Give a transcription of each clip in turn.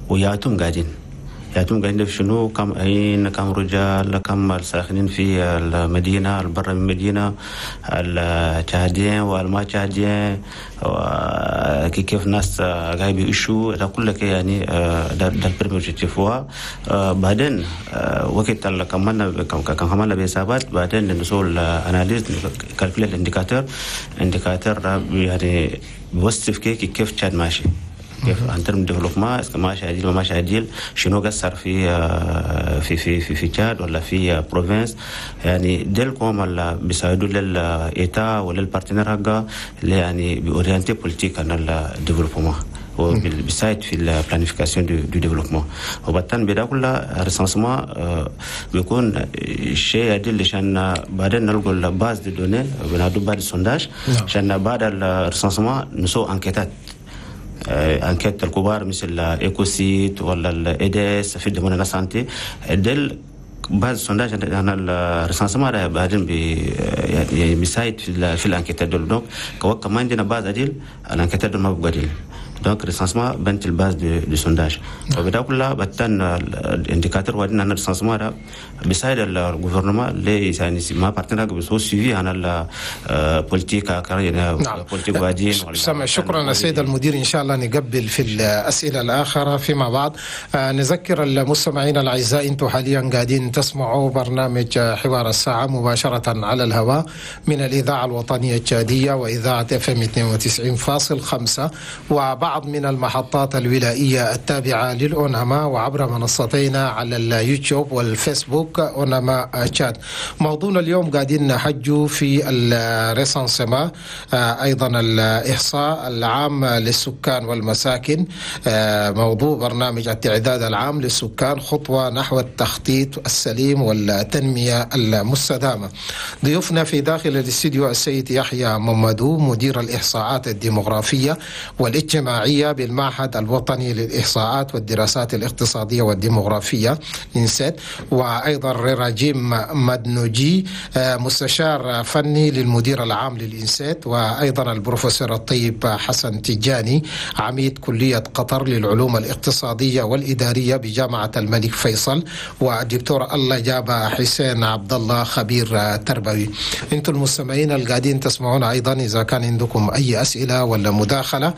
وياتهم قاعدين، ياتهم قاعدين في شنو، كم عين، كم رجال، كم الساكنين في المدينة، البر من المدينة، التشاديين والما تشاديين، كيف الناس قاعد بيعيشوا، ده كله يعني ده ال premier objectif. بعدين وقت اللي كملنا كملنا بحسابات، بعدين نسوي analyse، calculer ال indicateurs، indicateur يعني بيوصف كيف تشاد ماشي، كيف en termes développement ماشي عديل ما ماشي عديل، شنو قصر في في في في, في تشاد ولا في province. يعني ديل كوم اللي بيساعدوا لل État ولا ال partenaires حقا اللي يعني بي orienter politique عن ال développement وبيساعد في ال planification du développement. وبعدين بدا كلها recensement بيكون شيء عديل عشان بعدين نلقوا ال base de données، بنادو بعد ال sondage، عشان بعد ال recensement نسو enquête ات، enquête الكبار مثل Ecocit ولا ال IDS في domaine la santé. ديل base sondage انا ال recensement بعدين بي يعني بيساعد في ال enquête دول. donc كمان عندنا base عديل، ال enquête دول ما بقى عديل. donc recensement بنت ال base de sondage وبدا كلها بتن ال indicateurs. وبعدين ال recensement ده بيساعد ال gouvernement اللي يعني ما partenaires بيسوي suivi عن ال politique يعني politique وادين. سمع، شكرا السيد المدير. ان شاء الله نقبل في الاسئلة الاخرى فيما بعد. نذكر المستمعين الاعزاء، انتم حاليا قاعدين تسمعوا برنامج حوار الساعة مباشرة على الهواء من الاذاعة الوطنية التشاديه واذاعة FM 92.5 وبعض من المحطات الولائية التابعة للأوناما، وعبر منصتينا على اليوتيوب والفيسبوك أوناما تشاد. موضوعنا اليوم قاعدين نحجوا في ال recensement، أيضا الإحصاء العام للسكان والمساكن. موضوع برنامج التعداد العام للسكان، خطوة نحو التخطيط السليم والتنمية المستدامة. ضيوفنا في داخل الاستديو السيد يحيى ممدو، مدير الإحصاءات الديمغرافية والاجتماعية بالمعهد الوطني للإحصاءات والدراسات الاقتصادية والديمغرافية INSET، وأيضا ريراجيم مدنوجي، مستشار فني للمدير العام لل INSET، وأيضا البروفيسور الطيب حسن تجاني، عميد كلية قطر للعلوم الاقتصادية والإدارية بجامعة الملك فيصل، والدكتور الله جاب حسين عبد الله، خبير تربوي. انتم المستمعين القاعدين تسمعون أيضا، إذا كان عندكم أي أسئلة ولا مداخلة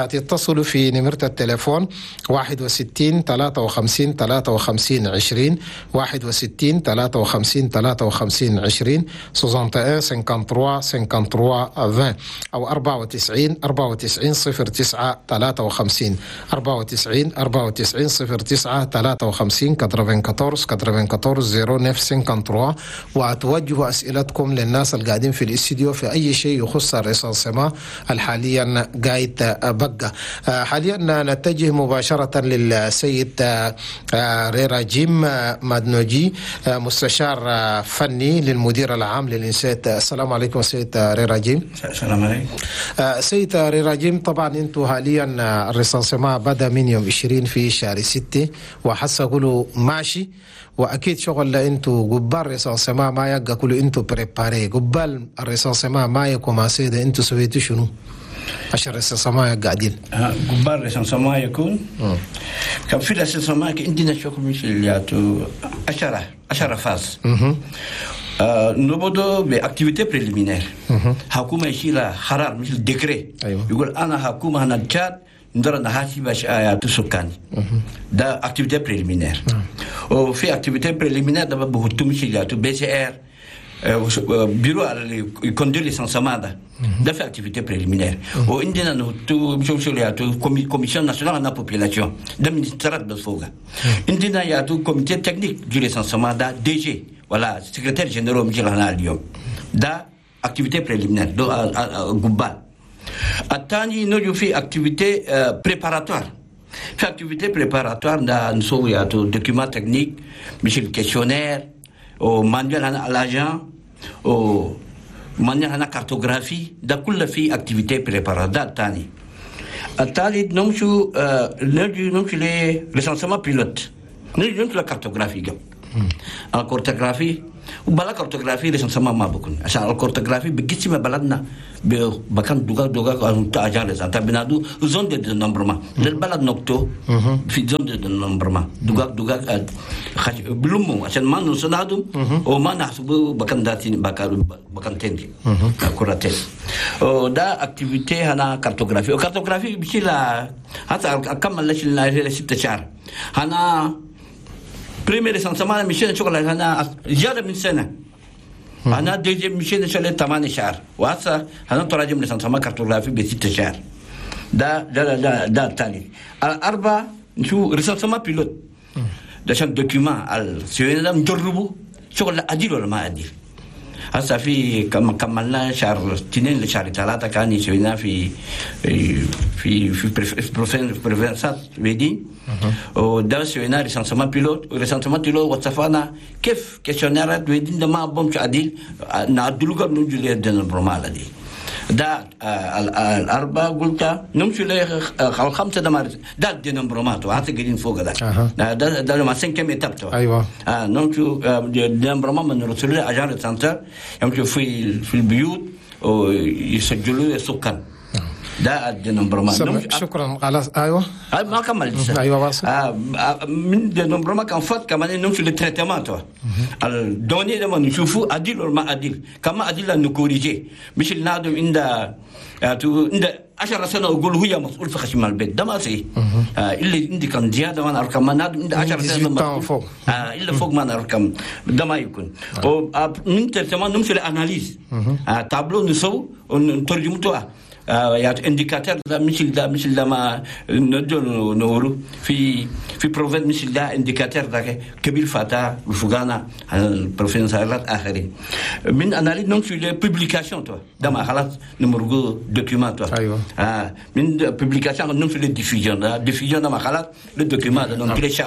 تتصلوا في نمرة التليفون 61 53 53 20، 61 53 53 20، 61 53 53 20، أو 94 94 09 53، 94 94 09 53، 94 94 09 53. وتوجهوا أسئلتكم للناس القاعدين في الاستديو في أي شيء يخص ال recensement الحاليا قايد بقى. حاليا نتجه مباشرة للسيد ريراجيم مادنوجي، مستشار فني للمدير العام لل INSET. السلام عليكم سيد ريراجيم. السلام عليكم. سيد ريراجيم، طبعا انتم حاليا ال recensement بدا من يوم 20 في شهر 6 وحسه كله ماشي، واكيد شغل انتو قبال recensement ما يبقى كله انتو préparé. قبال ال recensement ما ي commencer ده، انتو سويتوا شنو عشان ال recensement قاعدين؟ قبال ال recensement يكون كان في ال recensement عندنا شغل مثل ياتو 10 phases. نبدو ب activité préliminaire، حكومة يشيل قرار مثل décret. يقول انا حكومة هنا تشاد ندير نحاسب ياتو سكاني، ده activité préliminaire. وفي activité préliminaire ده بهتو مثل ياتو BCR، bureau اللي ي conduire recensement ده، ده في activité préliminaire. وعندنا نحطو مشو ياتو commission nationale هنا population، ده ministère بس فوق. عندنا ياتو comité technique du recensement، ده DG ولا secrétaire général مشي هنا اليوم. ده activité préliminaire دو قبال. الثاني نجو في activité préparatoire. في activité préparatoire ده نسوي ياتو document technique مثل questionnaire و manuel هنا l'agent و manuel هنا cartographie، ده كله في activité préparatoire. ده الثاني. الثالث نمشوا نجي نمشي ل recensement pilote، نجي نمشي لل cartographie. ال cartographie وبلا cartographie recensement ما بكون، عشان ال cartographie بقسم بلدنا بكان دوغا دوغا agent recenseur بنادو zone de dénombrement للبلد نكتو في zone de dénombrement دوغا دوغا بلومو عشان ما نصنادو وما نحسبو بكان داتين بكان تندي كوراتين. وده activité هنا cartographie، و cartographie بشيلا حتى اكمل لش 6 شهر هنا premier recensement مشينا شغل هنا زيادة من سنة. أنا deuxième مشينا شغل 8 شهر، وهسه هنا تراجم recensement cartographie ب6 شهر. ده ده ده ده الثالث. الأربعة نشوف recensement pilote. ده عشان document السوينا ده نجربه شغل عديل ولا ما عديل. هسه في كملنا شهر 2 لشهر 3 كان يسوينا في في في في province ات ويدين. وده سوينا recensement pilote، و recensement pilote وصفنا كيف questionnaire ات ويدين ده ما بمش عديل نعدلو قبل نجي لل dénombrement دي. ده الأربعة قلت نمشي الخمسة ده ما ده ال dénombrement وهذا قاعدين فوق ده. ده ده لما cinquième étape. أيوة. نمشي dénombrement من رسول agent recenseur يمشوا في البيوت ويسجلوا السكان. ده ال dénombrement. شكرا على ايوه ما كملت. ايوه واصل. من dénombrement كان فات كمان نمشي لل traitement ال données لما نشوفوا عديل ولا ما عديل، كما عديل ن corriger مش النادم عند 10 سنة اقول هي مسؤول في خشم البيت ده ما سي. اللي عندي كان زيادة ما نعرف كم نادم عند 10 سنة فوق. الا فوق ما نعرف كم ده ما يكون. من traitement نمشي لل analyse tableau نسو ونترجمتها يعني indicateur ده مثل ده مثل ده ما ندو نورو في province مثل ده indicateur ده كبير فاتا وفغانا ال province ات اخرين من analyse نمشي ل publication تو ده ما خلاص نمرقو document تو. ايوه من publication نمشي لل diffusion ده diffusion ده ما خلاص لل document ده نمشي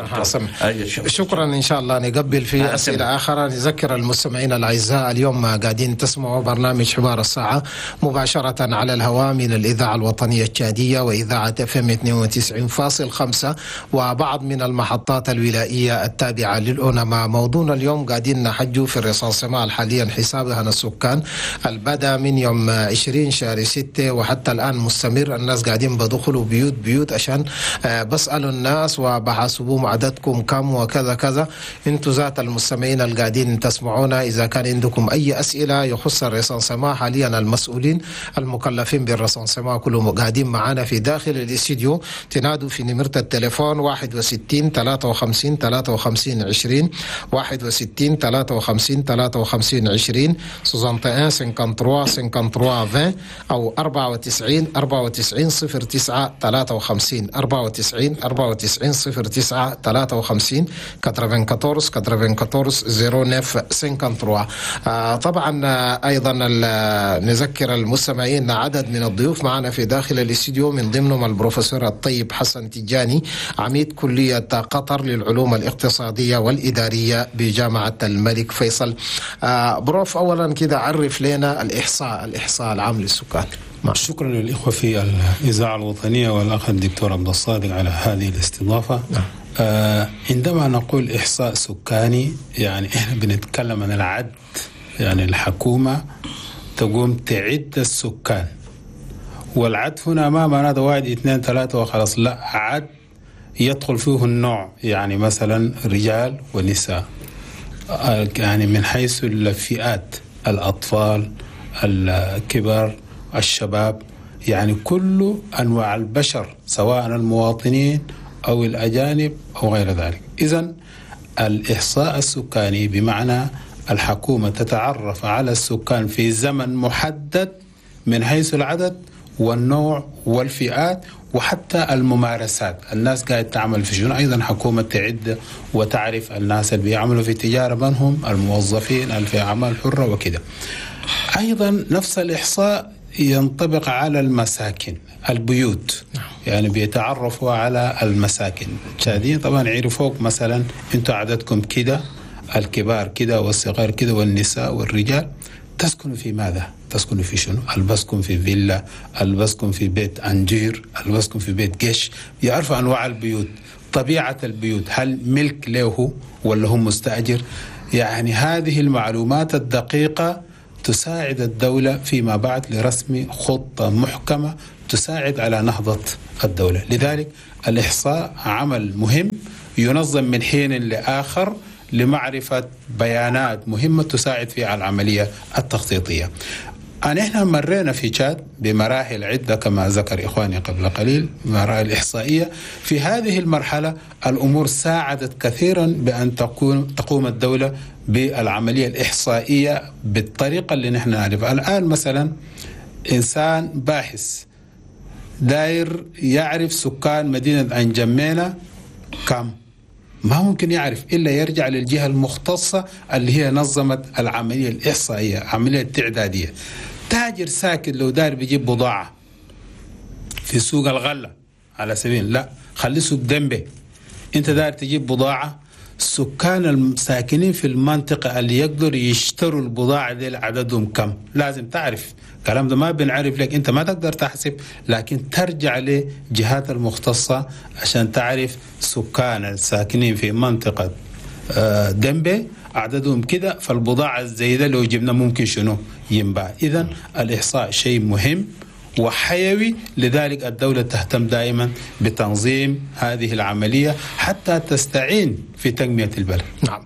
شكرا. ان شاء الله نقبل في اسئلة اخرى. نذكر المستمعين الاعزاء اليوم قاعدين تسمعوا برنامج حوار الساعة مباشرة على الهواء من الإذاعة الوطنية التشادية وإذاعة FM 92.5 وبعض من المحطات الولائية التابعة للأونما. موضوعنا اليوم قاعدين نحجوا في ال recensement حاليا حسابها السكان البدا من يوم 20 شهر 6 وحتى الآن مستمر. الناس قاعدين بدخلوا بيوت بيوت عشان بسألوا الناس وبحاسبوهم عددكم كم وكذا كذا. انتوا ذات المستمعين القاعدين تسمعونا إذا كان عندكم أي أسئلة يخص ال recensement حاليا المسؤولين المكلفين بال recensement كلهم قاعدين معانا في داخل الاستديو. تنادوا في نمرة التليفون 61 53 53 20 61 53 53 20 61 53 53 20 أو 94 94 09 53 94 94 09 53 94 94 09 53. طبعا أيضا نذكر المستمعين عدد من الضيوف معنا في داخل الاستديو، من ضمنهم البروفيسور الطيب حسن تجاني عميد كلية قطر للعلوم الاقتصادية والإدارية بجامعة الملك فيصل. بروف، أولا كده عرف لنا الإحصاء العام للسكان. شكرا للإخوة في الإذاعة الوطنية والأخ الدكتور عبد الصادق على هذه الاستضافة. عندما نقول إحصاء سكاني يعني إحنا بنتكلم عن العد، يعني الحكومة تقوم تعد السكان، والعد هنا ما معناته 1 2 3 وخلاص، لا، عد يدخل فيه النوع، يعني مثلا رجال ونساء، يعني من حيث الفئات، الأطفال، الكبار، الشباب، يعني كل أنواع البشر سواء المواطنين أو الأجانب أو غير ذلك. إذن الإحصاء السكاني بمعنى الحكومة تتعرف على السكان في زمن محدد من حيث العدد والنوع والفئات وحتى الممارسات. الناس قاعد تعمل في شنو، أيضا حكومة تعد وتعرف الناس اللي بيعملوا في تجارة من هم، الموظفين اللي في أعمال حرة وكده. أيضا نفس الإحصاء ينطبق على المساكن، البيوت، يعني بيتعرفوا على المساكن. التشاديين طبعا يعرفوك مثلا انتوا عددكم كده، الكبار كده والصغار كده والنساء والرجال، تسكنوا في ماذا؟ تسكنوا في شنو؟ البسكم في فيلا، البسكم في بيت أنجير، البسكم في بيت قش، يعرفوا أنواع البيوت. طبيعة البيوت، هل ملك له ولا هو مستأجر؟ يعني هذه المعلومات الدقيقة تساعد الدولة فيما بعد لرسم خطة محكمة تساعد على نهضة الدولة. لذلك الإحصاء عمل مهم ينظم من حين لآخر لمعرفة بيانات مهمة تساعد في العملية التخطيطية. نحن مرينا في تشاد بمراحل عدة كما ذكر إخواني قبل قليل، مراحل إحصائية. في هذه المرحلة الأمور ساعدت كثيرا بأن تقوم الدولة بالعملية الإحصائية بالطريقة اللي نحن نعرفها الآن. مثلا إنسان باحث داير يعرف سكان مدينة أنجمينة كم، ما ممكن يعرف إلا يرجع للجهة المختصة اللي هي نظمت العملية الإحصائية، عملية التعدادية. تاجر ساكن لو داير بيجيب بضاعة في سوق الغلة على سبيل، لا خلي سوق دنبي، انت داير تجيب بضاعة، السكان الساكنين في المنطقة اللي يقدر يشتروا البضاعة دي عددهم كم، لازم تعرف. الكلام ده ما بنعرف لك، انت ما تقدر تحسب، لكن ترجع لجهات المختصة عشان تعرف سكان الساكنين في منطقة دنبي عددهم كده، فالبضاعة الزايدة لو جبنا ممكن شنو ينباع. إذن الإحصاء شيء مهم وحيوي، لذلك الدولة تهتم دائما بتنظيم هذه العملية حتى تستعين في تنمية البلد. نعم،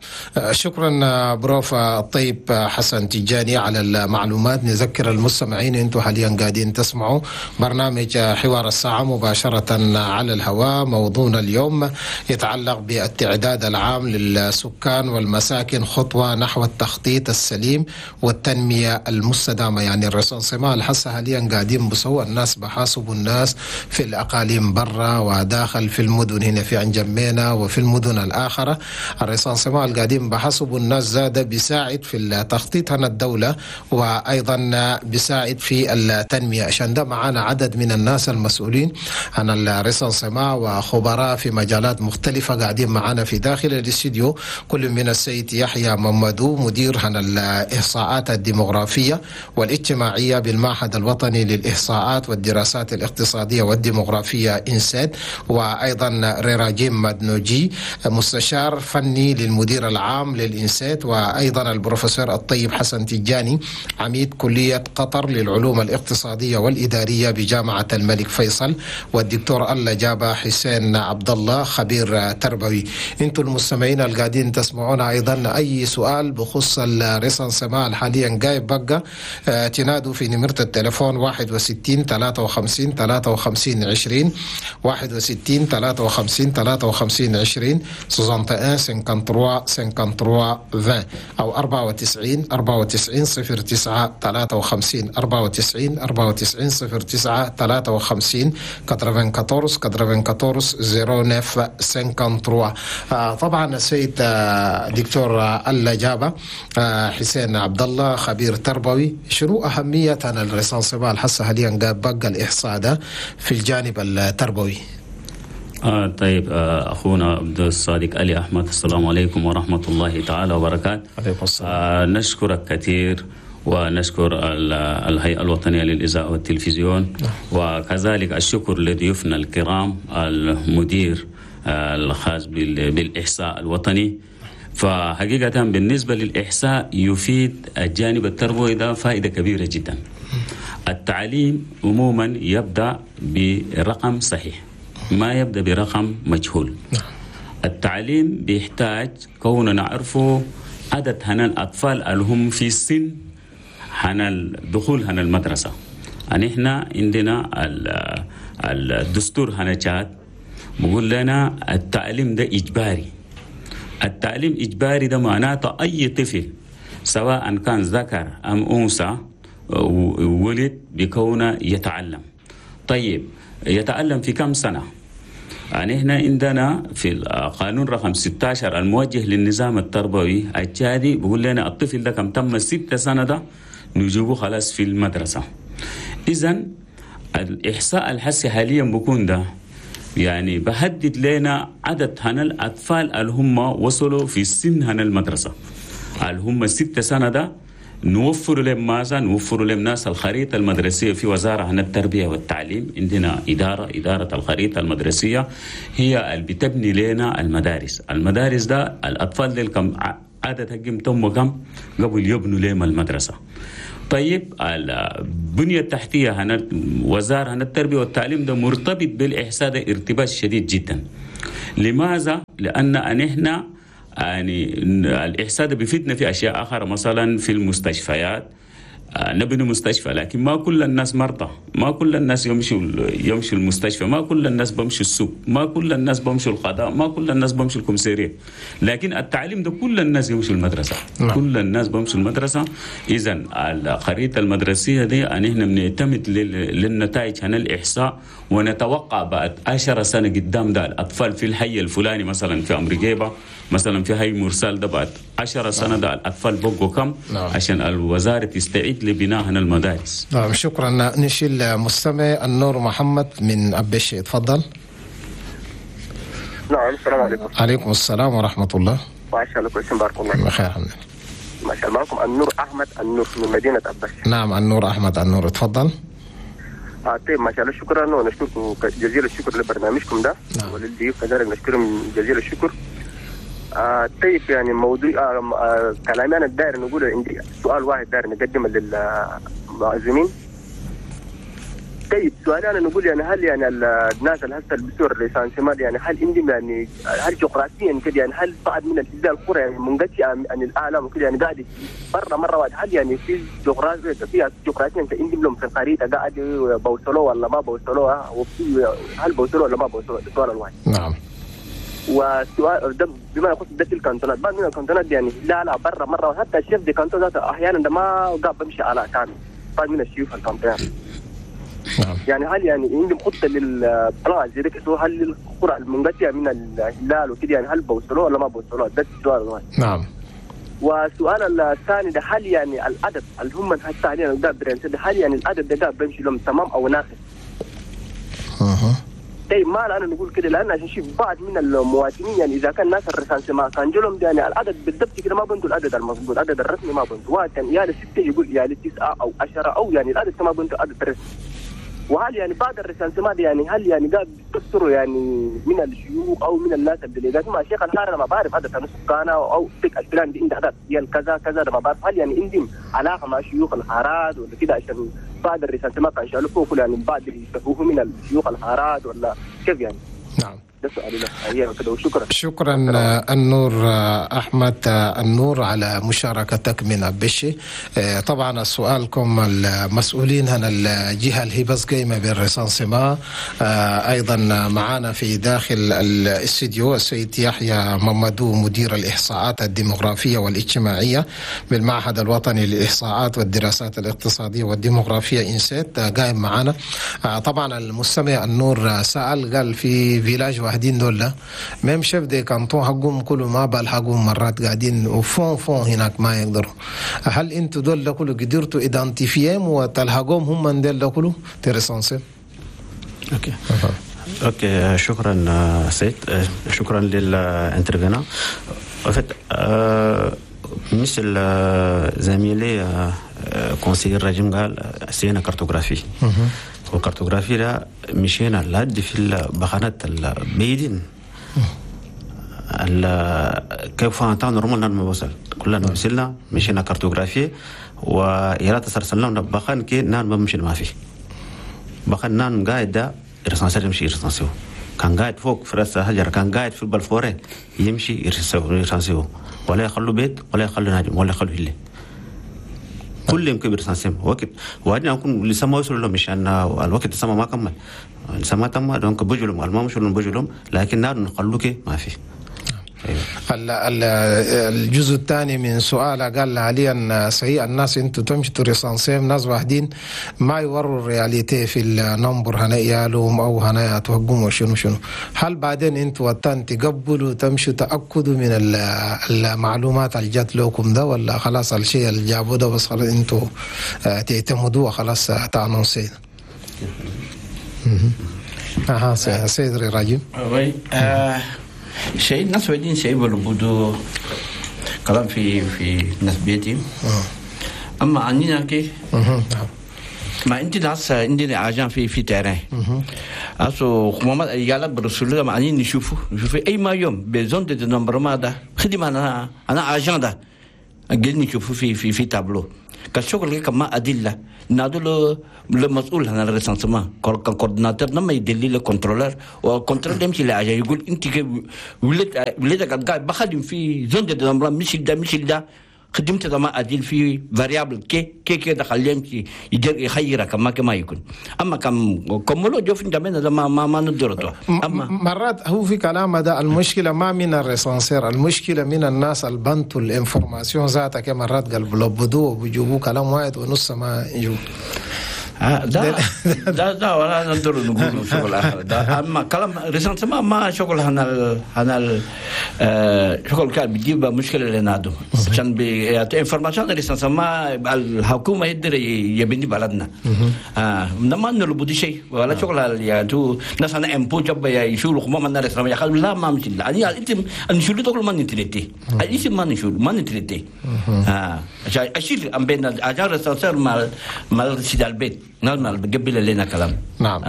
شكرا بروف الطيب حسن تجاني على المعلومات. نذكر المستمعين انتم حاليا قاعدين تسمعوا برنامج حوار الساعة مباشرة على الهواء. موضوعنا اليوم يتعلق بالتعداد العام للسكان والمساكن، خطوة نحو التخطيط السليم والتنمية المستدامة. يعني ال recensement الحسة حاليا قاعدين بسوى الناس، بحاسبوا الناس في الأقاليم برا وداخل في المدن، هنا في أنجمينا وفي المدن الآخرة. ال recensement القديم بحسب الناس زاد بيساعد في التخطيط هنا الدولة، وأيضا بيساعد في التنمية. عشان ده معانا عدد من الناس المسؤولين عن ال recensement وخبراء في مجالات مختلفة قاعدين معانا في داخل الاستديو، كل من السيد يحيى ممدو مدير عن الإحصاءات الديموغرافية والاجتماعية بالمعهد الوطني للإحصاءات والدراسات الاقتصادية والديموغرافية INSET، وأيضا ريراجيم مدنوجي مستشار فني للمدير العام لل INSET، وأيضا البروفيسور الطيب حسن تجاني عميد كلية قطر للعلوم الاقتصادية والإدارية بجامعة الملك فيصل، والدكتور الله جابة حسين عبد الله خبير تربوي. انتم المستمعين القاعدين تسمعونا أيضا أي سؤال بخص ال recensement حاليا جايب بقى تنادوا في نمرة التليفون 61 53 53 20 61 53 53 20 61 53 53 20 أو 94 94 09 53 94 94 09 53 94 94 09 53. طبعا السيد دكتور الله جابة حسين عبد الله خبير تربوي، شنو أهمية ال recensement الحسة حاليا بقى الإحصاء ده في الجانب التربوي؟ طيب أخونا عبد الصادق علي أحمد، السلام عليكم ورحمة الله تعالى وبركاته. عليكم السلام. نشكرك كثير ونشكر الهيئة الوطنية للإذاعة والتلفزيون، وكذلك الشكر لضيوفنا الكرام المدير الخاص بالإحصاء الوطني. فحقيقة بالنسبة للإحصاء يفيد الجانب التربوي ده فائدة كبيرة جدا. التعليم عموما يبدأ برقم صحيح، ما يبدأ برقم مجهول. التعليم بيحتاج كوننا نعرفه عدد هنا الأطفال اللي هم في السن هنا الدخول هنا المدرسة. يعني احنا عندنا الدستور هنا تشاد بيقول لنا التعليم ده إجباري. التعليم إجباري ده معناته أي طفل سواء كان ذكر أم أنثى ولد بكونه يتعلم. طيب يتعلم في كم سنة؟ يعني احنا عندنا في القانون رقم 16 الموجه للنظام التربوي التشادي بيقول لنا الطفل ده كم تم 6 سنة ده نجيبه خلاص في المدرسة. إذن الإحصاء الحسي حاليا بيكون ده يعني بحدد لنا عدد هنا الأطفال اللي هم وصلوا في سن هنا المدرسة اللي هم 6 سنة ده نوفر لهم ماذا؟ نوفر لهم ناس الخريطة المدرسية في وزارة عن التربية والتعليم، عندنا إدارة الخريطة المدرسية هي اللي بتبني لنا المدارس. المدارس ده الأطفال دي كم عدد حقهم تم كم قبل يبنوا لهم المدرسة. طيب البنية التحتية هنا وزارة هنا التربية والتعليم ده مرتبط بالإحصاء ده ارتباط شديد جدا. لماذا؟ لأن نحن يعني الإحصاء ده بيفيدنا في أشياء أخرى، مثلا في المستشفيات نبني مستشفى، لكن ما كل الناس مرضى، ما كل الناس يمشوا المستشفى، ما كل الناس بمشوا السوق، ما كل الناس بمشوا القضاء، ما كل الناس بمشوا الكمسيرية. لكن التعليم ده كل الناس يمشوا المدرسة. نعم. كل الناس بمشوا المدرسة. إذا الخريطة المدرسية دي أن إحنا بنعتمد للنتائج هنا الإحصاء، ونتوقع بعد 10 سنة قدام ده الأطفال في الحي الفلاني مثلا في أمريكا، مثلا في حي مرسال ده بعد 10 سنة ده الأطفال بقوا كم. نعم. عشان الوزارة تستعيد لبناء هنا المدارس. نعم شكرا. نشيل مستمع النور محمد من أبشي، تفضل. نعم السلام عليكم. عليكم السلام ورحمة الله. ما شاء الله كويسين بارك الله. بخير الحمد لله. ما شاء الله. معكم النور أحمد النور من مدينة أبشي. نعم النور أحمد النور، تفضل. طيب ما شاء الله شكرا، ونشكركم جزيل الشكر لبرنامجكم ده. نعم. وللضيوف كذلك نشكرهم جزيل الشكر. طيب يعني موضوع كلامي انا الدائر نقول عندي سؤال واحد داير نقدمه للمعزومين. طيب سؤالي انا نقول يعني هل يعني الناس اللي هسه بيسوا ال recensement يعني هل عندهم يعني هل جغرافيا كده يعني هل بعض من الاجزاء القرى يعني منقطعة عن العالم وكده يعني قاعد برا مرة واحدة، هل يعني في جغرافيا في جغرافيا عندهم لهم في الخريطة قاعد بوصلوه ولا ما بوصلوها، وفي هل بوصلوه ولا ما بوصلوه؟ السؤال الواحد. نعم. والسؤال ده بما يخص ده الكانتونات، بعض من الكانتونات يعني لا برا مرة، وحتى ال chef de canton ذاته احيانا ده ما قاعد بمشي على كامل بعض من الشيوخ الكانتونات. نعم. يعني هل يعني عندهم خطه لل plan زي ده، هل القرى المنقطعه من الهلال وكده يعني هل بوصلوه ولا ما بوصلوه؟ ده السؤال الواحد. نعم. والسؤال الثاني ده هل يعني العدد اللي هم هسه حاليا قاعد هل يعني العدد ده قاعد بيمشي لهم تمام او ناقص؟ طيب ما انا نقول كده لان عشان شوف بعض من المواطنين يعني اذا كان ناس ال recensement كان جولهم يعني العدد بالضبط كده ما بنتوا العدد المضبوط، العدد الرسمي ما بنتوا، واحد كان يا 6 يقول يا 9 او 10 او يعني العدد ما بنتوا العدد الرسمي. وهل يعني بعد ال recensement يعني هل يعني قاعد بيستفسروا يعني من الشيوخ او من الناس الدليلات مع شيخ الحارة انا ما بعرف عدد السكان او تك الفلان دي عندها عدد ديال كذا كذا ما بعرف، هل يعني عندهم علاقة مع شيوخ الحارات ولا كده عشان بعد ال recensement كان شالوا فوق يعني بعد يستفوه من الشيوخ الحارات ولا كيف يعني؟ نعم. ده سؤالي لك وشكرا. شكرا النور احمد النور على مشاركتك من أبشي. طبعا سؤالكم المسؤولين هنا الجهة اللي هي بس قايمة بال recensement، ايضا معنا في داخل الاستديو السيد يحيى ممدو مدير الاحصاءات الديموغرافيه والاجتماعية بالمعهد الوطني للاحصاءات والدراسات الاقتصادية والديموغرافيه INSET قايم معنا. طبعا المستمع النور سأل قال في village واحدين دول même chef de canton حقهم كله ما بالحقهم مرات قاعدين au fond fond هناك ما يقدروا. هل انتوا دول كله قدرتوا identifier هم وتلحقوهم هم دول كله ت recenser؟ OK OK شكرا سيد، شكرا لل intervenant. مثل زميلي conseiller الرجيم قال c'est une cartographie، وال cartographie ده مشينا لحد في البخانات البيدين كيف فانتا normal ما وصل كلنا وصلنا مشينا cartographie ويرا تسرسلنا بخان كي نان ما مشي ما في بخان نان قاعد ده recenseur يمشي recenser كان قاعد فوق في راس الحجر، كان قاعد في البلفورة يمشي recenser، ولا يخلوا بيت ولا يخلوا ناجم ولا يخلوا هله كل يوم كبير سنسيم وقت وبعدين اكون لسه ما وصلوا لهم مشان الوقت لسه ما كمل لسه ما تم donc بجلهم ما مشوا لهم بجلهم لكن نار نخلوك ما في. الجزء الثاني من سؤاله قال حاليا صحيح الناس انتم تمشوا recenser ناس واحدين ما يوروا ال réalité في ال nombre هنا يالهم او هنا يتوقموا شنو شنو، هل بعدين انتم وطن تقبلوا تمشوا تاكدوا من المعلومات اللي جات لكم ده ولا خلاص الشيء اللي جابوه ده بس خلاص انتم تعتمدوه خلاص ت annoncer؟ اها سيد راجل. شيء الناس ودين شيء بلبدو كلام في ناس بيتي. اما عنينا كي ما انت ناس عندنا agent في terrain اسو خمامات يالا برسول ما عني نشوفه اي ما يوم ب zone de dénombrement ده خدمة انا agent ده قلنا نشوفه في تابلو كشغل كما ادلة نادو المسؤول هنا ال recensement coordinateur لما يدلي ال contrôleur وال contrôleur يمشي ل agent يقول انت ولدك قاعد بخدم في zone de dénombrement مش ده مش ده خدمت ما أديل في variable كي كي كي دخل يمشي يجر يخيرك كما يكون أما كم كملوا جو في جمعنا ده ما ندرته. أما مرات هو في كلام ده المشكلة ما من ال recenseur، المشكلة من الناس البنتوا ال information ذاتك مرات قلب لبدو وبيجيبوا كلام واحد ونص ما يجوا. ده ده ده ولا ندر نقول شغل آخر ده. أما كلام recensement ما شغل هنا شغل كان بيجيب مشكلة لنادو عشان بي information recensement الحكومة يقدر يبني بلدنا. ما نلبدي شيء ولا شغل يعني تو ناس أنا إمبو جب يشيلوا خما من recensement يخلوا لا ما مش لا يعني أنت نشيل تقول ما نتريتي الاسم ما نشيل ما نتريتي. عشان أشيل أم بين أجار recenseur مال سيد البيت نعم قبل لنا كلام. نعم.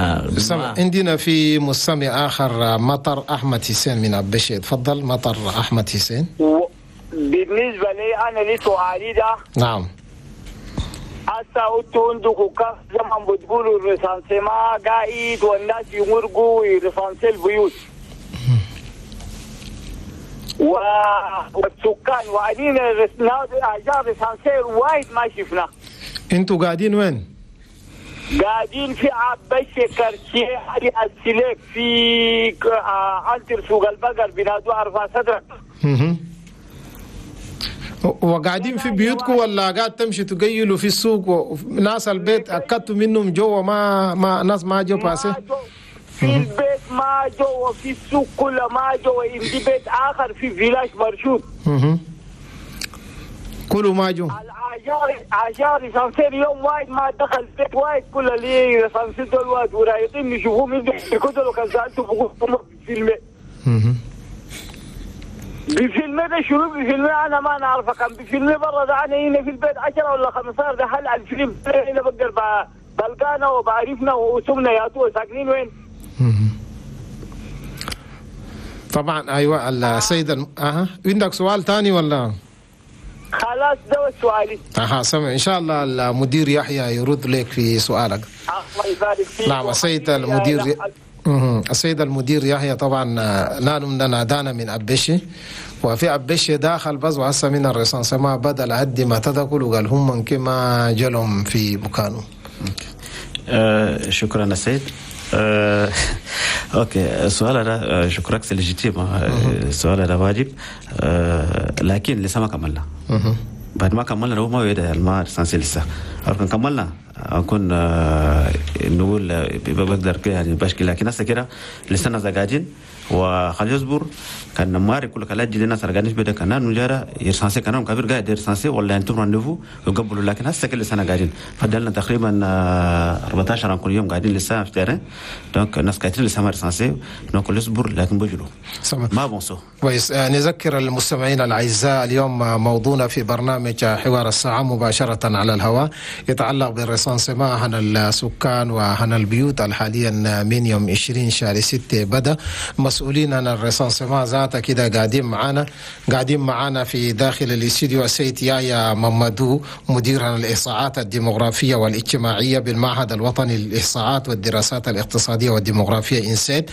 عندنا في مستمع آخر مطر أحمد حسين من أبشي. تفضل مطر أحمد حسين. بالنسبة لي أنا لي سؤالي ده. نعم. هسا انتوا عندكم كف زمان بتقولوا ال recensement قاعد والناس يمرقوا ي recenser البيوت والسكان وعدين agent recenseur وايد ما شفنا. انتوا قاعدين وين؟ قاعدين في عبشة quartier علي السليك في عنتر سوق البقر بنادو عرفة صدرك. وقاعدين في بيوتكم ولا قاعد تمشي تقيلوا في السوق وناس البيت أكدتوا منهم جوا ما ناس ما جو باسي؟ في البيت ما جو وفي السوق كله ما جو، عندي بيت آخر في village مرشود. كله ما جو. agent recenseur يوم واحد ما دخل بيت واحد كل اللي recenseur دول واحد ورايقين يشوفوهم يقولوا كان سألته بقول فيلم بفيلم ده شنو بفيلم انا ما نعرفه كان بفيلم برا ده انا هنا في البيت 10 ولا 15 ده هل الفيلم هنا بقدر بلقانا وبعرفنا وسمنا يا تو ساكنين وين. طبعا ايوه السيد عندك سؤال ثاني ولا؟ خلاص ده سؤالي. سمع ان شاء الله المدير يحيى يرد لك في سؤالك. الله يبارك فيك. نعم السيد المدير السيد المدير يحيى طبعا نادانا من أبشي، وفي أبشي داخل بس وهسه من ال recensement بدل عدي ما تدخل وقال هم كما جلهم في مكانه. شكرا السيد. OK السؤال هذا شكرا c'est légitime، السؤال هذا واجب، لكن لسه ما كملنا. بعد ما كملنا هو ما يبدا ما recensé لسه، لو كملنا نكون نقول بقدر كده يعني بشكل، لكن هسه كده لسه ناس قاعدين وخلي يصبر كان ماري كل كلا جدي ناس رجعنيش بدا كان نجارة ي recenser كانوا كبير قاعد ي recenser ولا انتم rendez-vous وقبلوا، لكن هسه كل سنة قاعدين فضلنا تقريبا 14 كل يوم قاعدين لسه في terrain، donc الناس قاعدين لسه ما recensé donc يصبر لكن بجلو ما بونسو. كويس. نذكر المستمعين الاعزاء اليوم موضوعنا في برنامج حوار الساعة مباشرة على الهواء يتعلق بال recensement عن السكان وعن البيوت حاليا من يوم 20 شهر 6 بدا. مسؤولين عن ال recensement ذاته كده قاعدين معانا في داخل الاستديو السيد يايا ممدو مدير عن الإحصاءات الديموغرافية والاجتماعية بالمعهد الوطني للإحصاءات والدراسات الاقتصادية والديموغرافية INSET،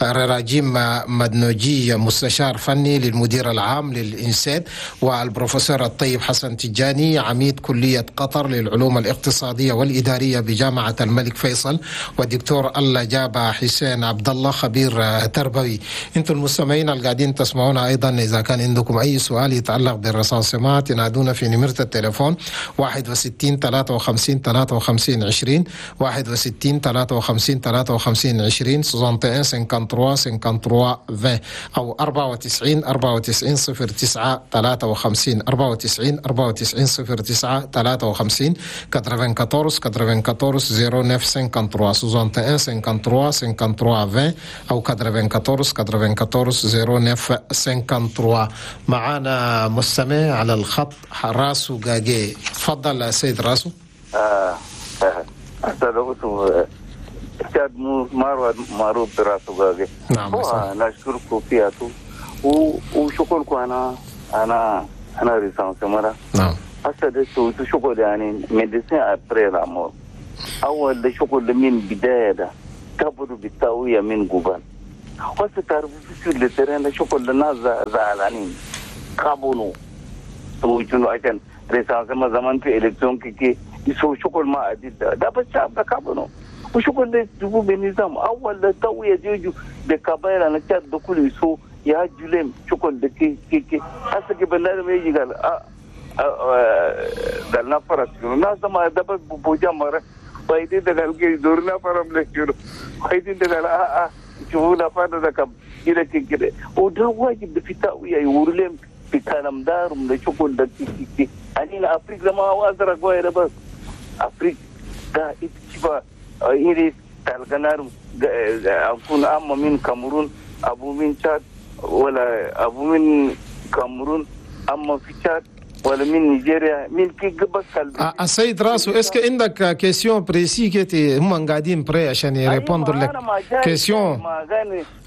رراجيم مدنوجي مستشار فني للمدير العام لل INSET، والبروفيسور الطيب حسن تجاني عميد كلية قطر للعلوم الاقتصادية والإدارية بجامعة الملك فيصل، والدكتور الله جابا حسين عبد الله خبير تربوي. انتم المستمعين القاعدين تسمعونا ايضا اذا كان عندكم اي سؤال يتعلق بال recensement تنادونا في نمرة التليفون 61 53 53 20 61 53 53 20 61 53 53 20 او 94 94 09 53 94 94 09 53 94 94 09 53 61 53 53 20 او 94 94 09 53. معانا مستمع على الخط راسو جاجي، تفضل سيد راسو. استاذ معروف براسو جاجي. نعم نشكركم فيها وشكركم. انا recensement. نعم. هسه ده شغل يعني médecin après la mort. اول ده شغل من بداية ده كبروا بالتاويه من قبل. هسه تعرفوا في ال terrain ده شغل الناس زعلانين كابونو سويتونو عشان recensement زمان في élection كي يسوي شغل ما عديد ده بس شعب ده كابونو وشغل ده جيبوا بنظام. اول ده تاويه ديجو ده كباير انا تشاد ده كله يسوي يا جولم شغل ده كي كي كي هسه كبلنا ما يجي قال قال نفرس الناس ما دبل بوجا مرة وايدين ده قال كي دورنا فرم لك وايدين ده قال شوفوا نفر ده كم كده كده وده واجب في تاوية يورلم في كلام دارم ده شغل ده كي كي كي أنا أفريقيا ما هو أزرق وين بس أفريقيا ده إتشبا إيري تلقنارم أكون أما من كاميرون أبو من تشاد ولا أبو من كاميرون أما في تشاد ولا من نيجيريا من كي بس. السيد راسو est-ce que عندك question précise كي هم قاعدين prêts عشان ي répondre لك question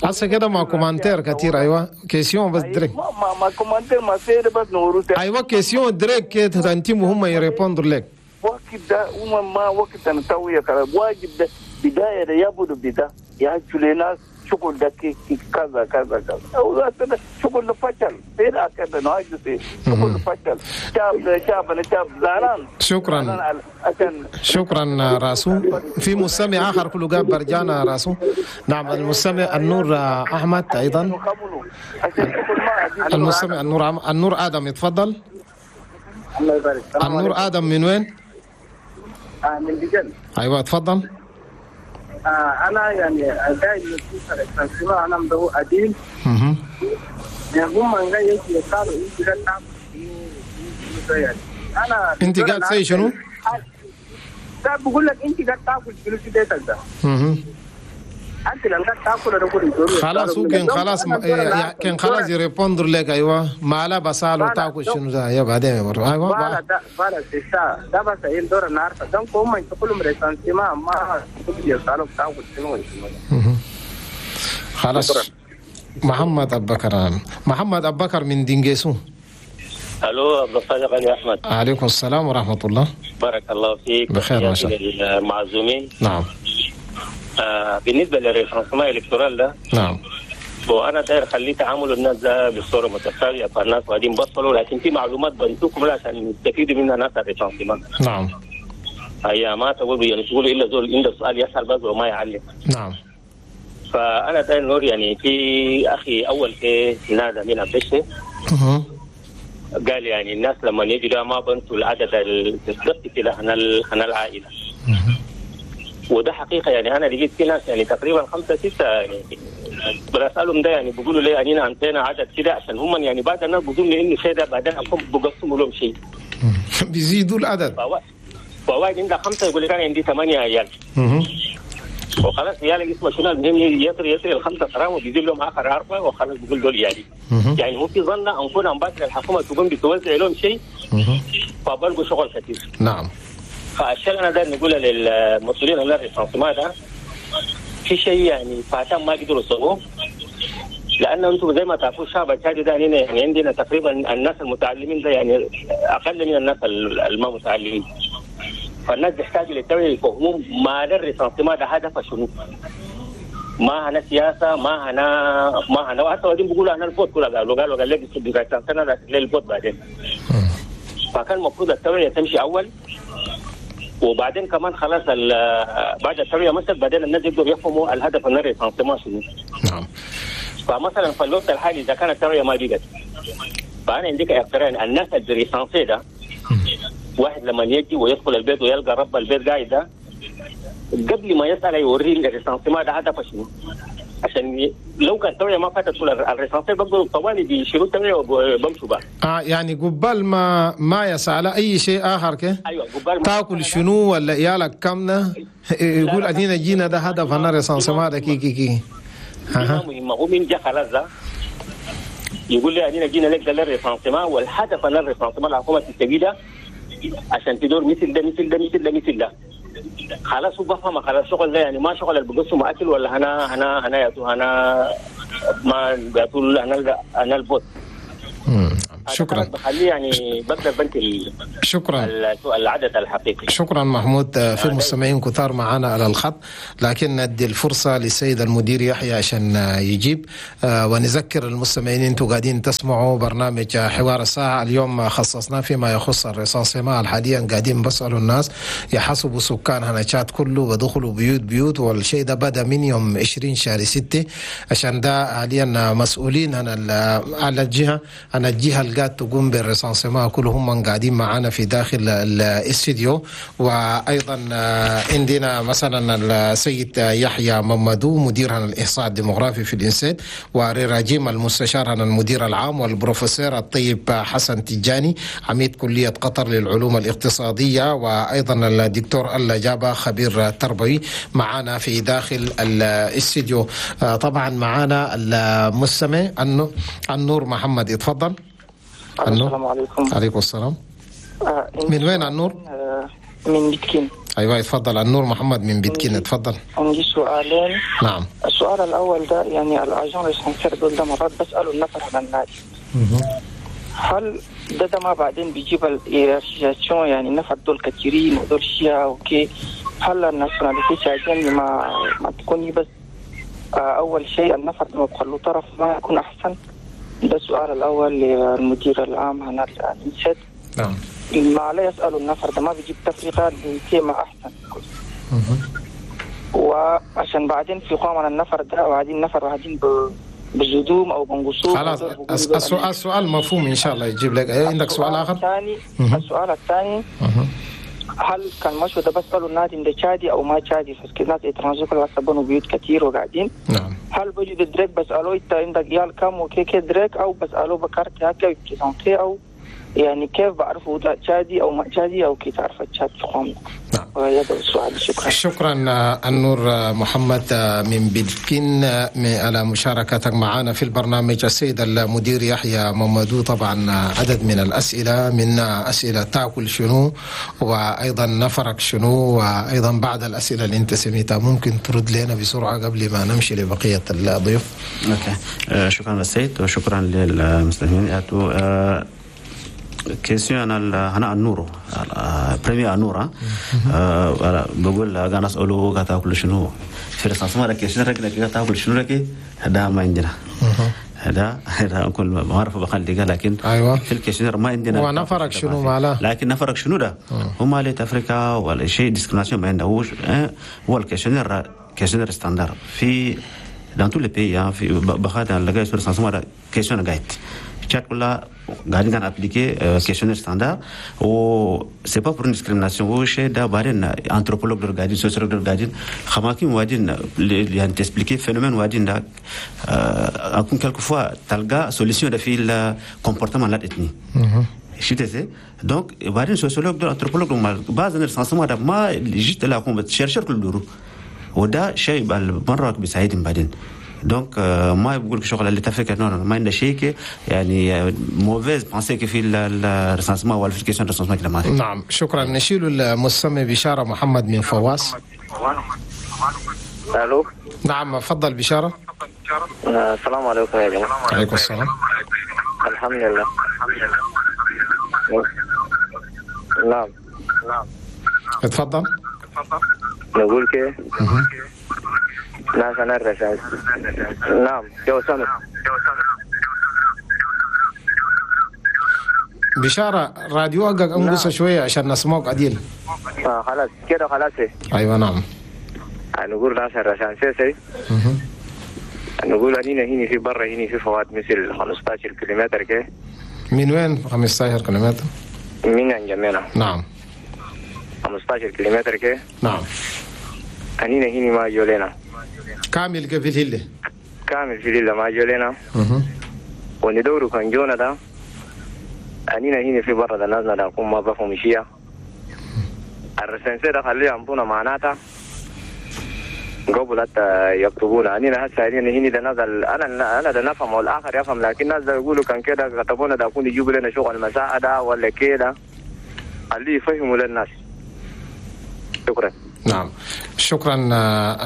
هسه كده ما commentaire كثير. ايوه question بس direct ما commentaire ما سير بس نورو. ايوه question direct انت هم ي répondre لك وقت ده هم ما وقت نسوي كلام واجب ده بداية ده يبدو بدا يا ناس شغل ده كي كذا كذا كذا أو شغل فشل سير كذا ناجس شغل فشل شاب شاب شاب زعلان. شكرا شكرا راسو. في مستمع آخر كله جاب برجانا راسو. نعم المستمع النور أحمد أيضا. المستمع النور آدم يتفضل. الله يبارك. النور آدم من وين؟ من دجل. أيوة تفضل. أنا يعني دايما أشوف أنا مدعو عديل. هم جاي يقالوا أنت قاعد تاكل يعني. أنا أنت قاعد تسوي شنو؟ ده بقول لك أنت قاعد تاكل شنو في بيتك ده؟ أنت لما قاعد تاكل أنا بقول خلاص هو كان خلاص كان خلاص ي répondre لك. أيوة ما لا بسأله تاكل شنو ده يا بعدين برضه. أيوة voilà c'est ça ده بس إيه دور النهار donc هم يقولوا recensement ما يسألوا تاكل شنو. خلاص محمد أبو بكر. محمد أبو بكر من دينجيسو. الو عبد الصادق علي احمد. عليكم السلام ورحمة الله. بارك الله فيك. بخير ما شاء الله. المعزومين. نعم. بالنسبة لل recensement électoral ده. نعم. وانا داير خليه تعامل الناس ده بصورة متساوية، فالناس قاعدين بصلوا لكن في معلومات بنتوكم عشان يستفيدوا منها ناس ال recensement. نعم. هي ما تقولوا يعني تقولوا الا زول عنده سؤال يسال بس وما يعلم. نعم. فانا داير نور يعني في اخي اول في نادى من عبد قال يعني الناس لما يجوا لا ما بنتوا العدد بالضبط في هنا العائلة. وده حقيقة يعني انا لقيت في ناس يعني تقريبا 5 6 يعني بسالهم ده يعني بيقولوا لي يعني عندنا عدد كده عشان هم يعني بعد الناس بيظنوا انه شيء ده بعدين بقسموا لهم شيء. بيزيدوا العدد. فواحد عنده 5 يقول لك انا عندي 8 عيال. وخلاص عيالك اسمه شنو المهم يطري ال5 غرام وبيزيد لهم اخر 4 وخلاص بيقول دول عيالي. يعني هو في ظن ان كون امبارح الحكومة تقوم بتوزع لهم شيء فبلقوا شغل كثير. نعم. فالشيء انا ده نقوله للمسؤولين على ال recensement ده في شيء يعني فاتان ما قدروا يسووه، لان انتم زي ما تعرفوا الشعب التشادي ده يعني عندنا تقريبا الناس المتعلمين ده يعني اقل من الناس الما متعلمين. فالناس بيحتاجوا للتوعية يفهموا ما ال recensement ده هدفه شنو. ما هنا سياسة، ما هنا وحتى بعدين بيقولوا انا ال vote كلها قالوا قال لك ال vote بعدين. فكان المفروض التوعية تمشي اول، وبعدين كمان خلاص بعد التوعية مثلا بعدين الناس يقدروا يفهموا الهدف من ال recensement شنو. نعم. فمثلا في الوقت الحالي اذا كانت التوعية ما بقت، فانا عندك اقتراح الناس اللي recensé ده واحد لما يجي ويدخل البيت ويلقى رب البيت قاعد ده قبل ما يسأل يوريه ال recensement ده هدفه شنو، عشان لو كان التوعية ما فاتت ال recensé بقدروا طوالي بيشيلوا التوعية وبمشوا بقى. يعني قبال ما يسأل اي شيء اخر كه. ايوه قبال ما تاكل شنو ولا عيالك كمنا يقول ادينا جينا ده هدف انا recensement ده كي كي كي. ما مهمة. هو من جا خلاص ده يقول لي أنا جينا لك ده لل recensement، والهدف أنا ال recensement الحكومة تستفيدها عشان تدور مثل ده مثل ده مثل ده مثل ده. خلاص هو بفهم خلاص شغل ده يعني ما شغل اللي بقسم اكل ولا هنا هنا هنا يا هنا ما بيقول انا البوت. شكرا. بخليه يعني بقدر بنك شكرا العدد الحقيقي. شكرا محمود. في مستمعين كثار معنا على الخط، لكن ندي الفرصة للسيد المدير يحيى عشان يجيب. ونذكر المستمعين انتم قاعدين تسمعوا برنامج حوار الساعة. اليوم خصصناه فيما يخص ال recensement. حاليا قاعدين بسالوا الناس يحسبوا سكان هنا تشاد كله ودخلوا بيوت بيوت، والشيء ده بدا من يوم 20 شهر 6، عشان ده حاليا مسؤولين على الجهة، أنا الجهة اللي قاعد تقوم بال recensement كلهم قاعدين معانا في داخل الاستديو. وأيضا عندنا مثلا السيد يحيى ممدو مدير الإحصاء الديموغرافي في ال INSET، وريراجيم المستشار المدير العام، والبروفيسور الطيب حسن تجاني عميد كلية قطر للعلوم الاقتصادية، وأيضا الدكتور ألا جابا خبير تربوي معانا في داخل الاستديو. طبعا معانا المستمع النور محمد، اتفضل. السلام عليكم. عليكم السلام. من وين النور؟ من بيتكين. ايوه اتفضل النور محمد من بيتكين، اتفضل. عندي سؤالين. نعم. السؤال الاول ده يعني ال agents recenseurs دول ده مرات بسالوا النفر على النادي. هل ده ما بعدين بيجيب ال hiérarchisation، يعني النفر دول كثيرين ودول شيعة okay، هل ال nationalité tchadienne ما تكوني بس اول شيء النفر ده ما بخلوه طرف ما يكون احسن؟ ده السؤال الأول للمدير العام هنا ال INSET. نعم. ما عليه يسألوا النفر ده ما بيجيب تفرقة للتيمة أحسن. وعشان بعدين في قام على النفر ده وبعدين نفر واحدين بزدوم أو بنقصوه. خلاص السؤال مفهوم إن شاء الله يجيب لك. عندك سؤال آخر؟ السؤال الثاني هل كان مشوا ده بسألوا النادي ده تشادي أو ما تشادي؟ فسكت ناس étrangers كلها سبنوا بيوت كتير وقاعدين. نعم. هل بيجي direct بسألوه أنت عندك عيال كم وكي direct، أو بسألوه بكارت هكا présenter، أو يعني كيف بعرفوا ده تشادي أو ما تشادي أو كيف تعرف تشاد في قومنا؟ نعم. وهذا السؤال. شكرا. شكرا النور محمد من بلكين على مشاركتك معنا في البرنامج. السيد المدير يحيى ممدو، طبعا عدد من الأسئلة، من أسئلة تاكل شنو، وأيضا نفرك شنو، وأيضا بعض الأسئلة اللي أنت سميتها، ممكن ترد لنا بسرعة قبل ما نمشي لبقية الضيوف. okay. شكرا للسيد وشكرا للمستمعين. question انا النور premier النور بقول انا اساله قاعد تاكل شنو في recensement لك شنو لك قاعد تاكل شنو لك هذا ما عندنا، هذا كل ما اعرف بخلي لكن أيوة. في ال questionnaire ما عندنا ونفرك شنو ماله، لكن نفرك شنو ده هما لي افريقيا ولا شيء discrimination ما عنده. هو ال questionnaire questionnaire standard في dans tous les pays في بخاطر لقى recensement questionnaire قاعد تشاد كلها قاعدين كان appliquer questionnaire standard و c'est pas pour discrimination. هو شيء ده بعدين anthropologue دول قاعدين، sociologue دول قاعدين، خماكين وادين يعني ت expliquer phénomène وادين ده اكون quelquefois تلقى solution ده في ال comportement la ethnie شتي. donc بعدين sociologue دول anthropologue بعض ال recensement ده ما جيت لا chercheurs كل دورو، وده شيء مرة بيساعدهم بعدين. donc ما بقول لك شغل اللي تفكر non ما عندنا شيء يعني mauvaise pensée في ال recensement ولا في question recensement كده ما. نعم شكرا. نشيل المستمع بشارة محمد من فواس. الو. نعم تفضل بشارة. السلام عليكم يا جماعة. عليكم السلام. الحمد لله. نعم اتفضل. نقول كيف؟ ناس أنا الرشاد. نعم جو سامع. بشارة راديو أقق أنقص شوية عشان نسمعك عديل. خلاص كده خلاص. أيوة نعم. نقول ناس الرشاد سيسي. نقول أنينا هنا في برا هنا في فوات مثل 15 كيلومتر كده. من وين 15 كيلومتر؟ من انجمينا. نعم. 15 كيلومتر كده. نعم. أنينا هنا ما جولينا. كامل في الهلة. كامل في الهلة ما جولينا. وندورو كان جونا ده. أنينا هنا في برا ده نازنا ده كم ما بفهم شيء. ال recensé ده خليه عمبونا معناته. قبل حتى يكتبون. أنا هسه هنا ده نزل، أنا ده نفهم والآخر يفهم، لكن الناس ده يقولوا كان كده كتبونا ده يكون يجيبوا لنا شغل مساعدة ولا كده، اللي يفهموا للناس. شكرا. نعم، شكرا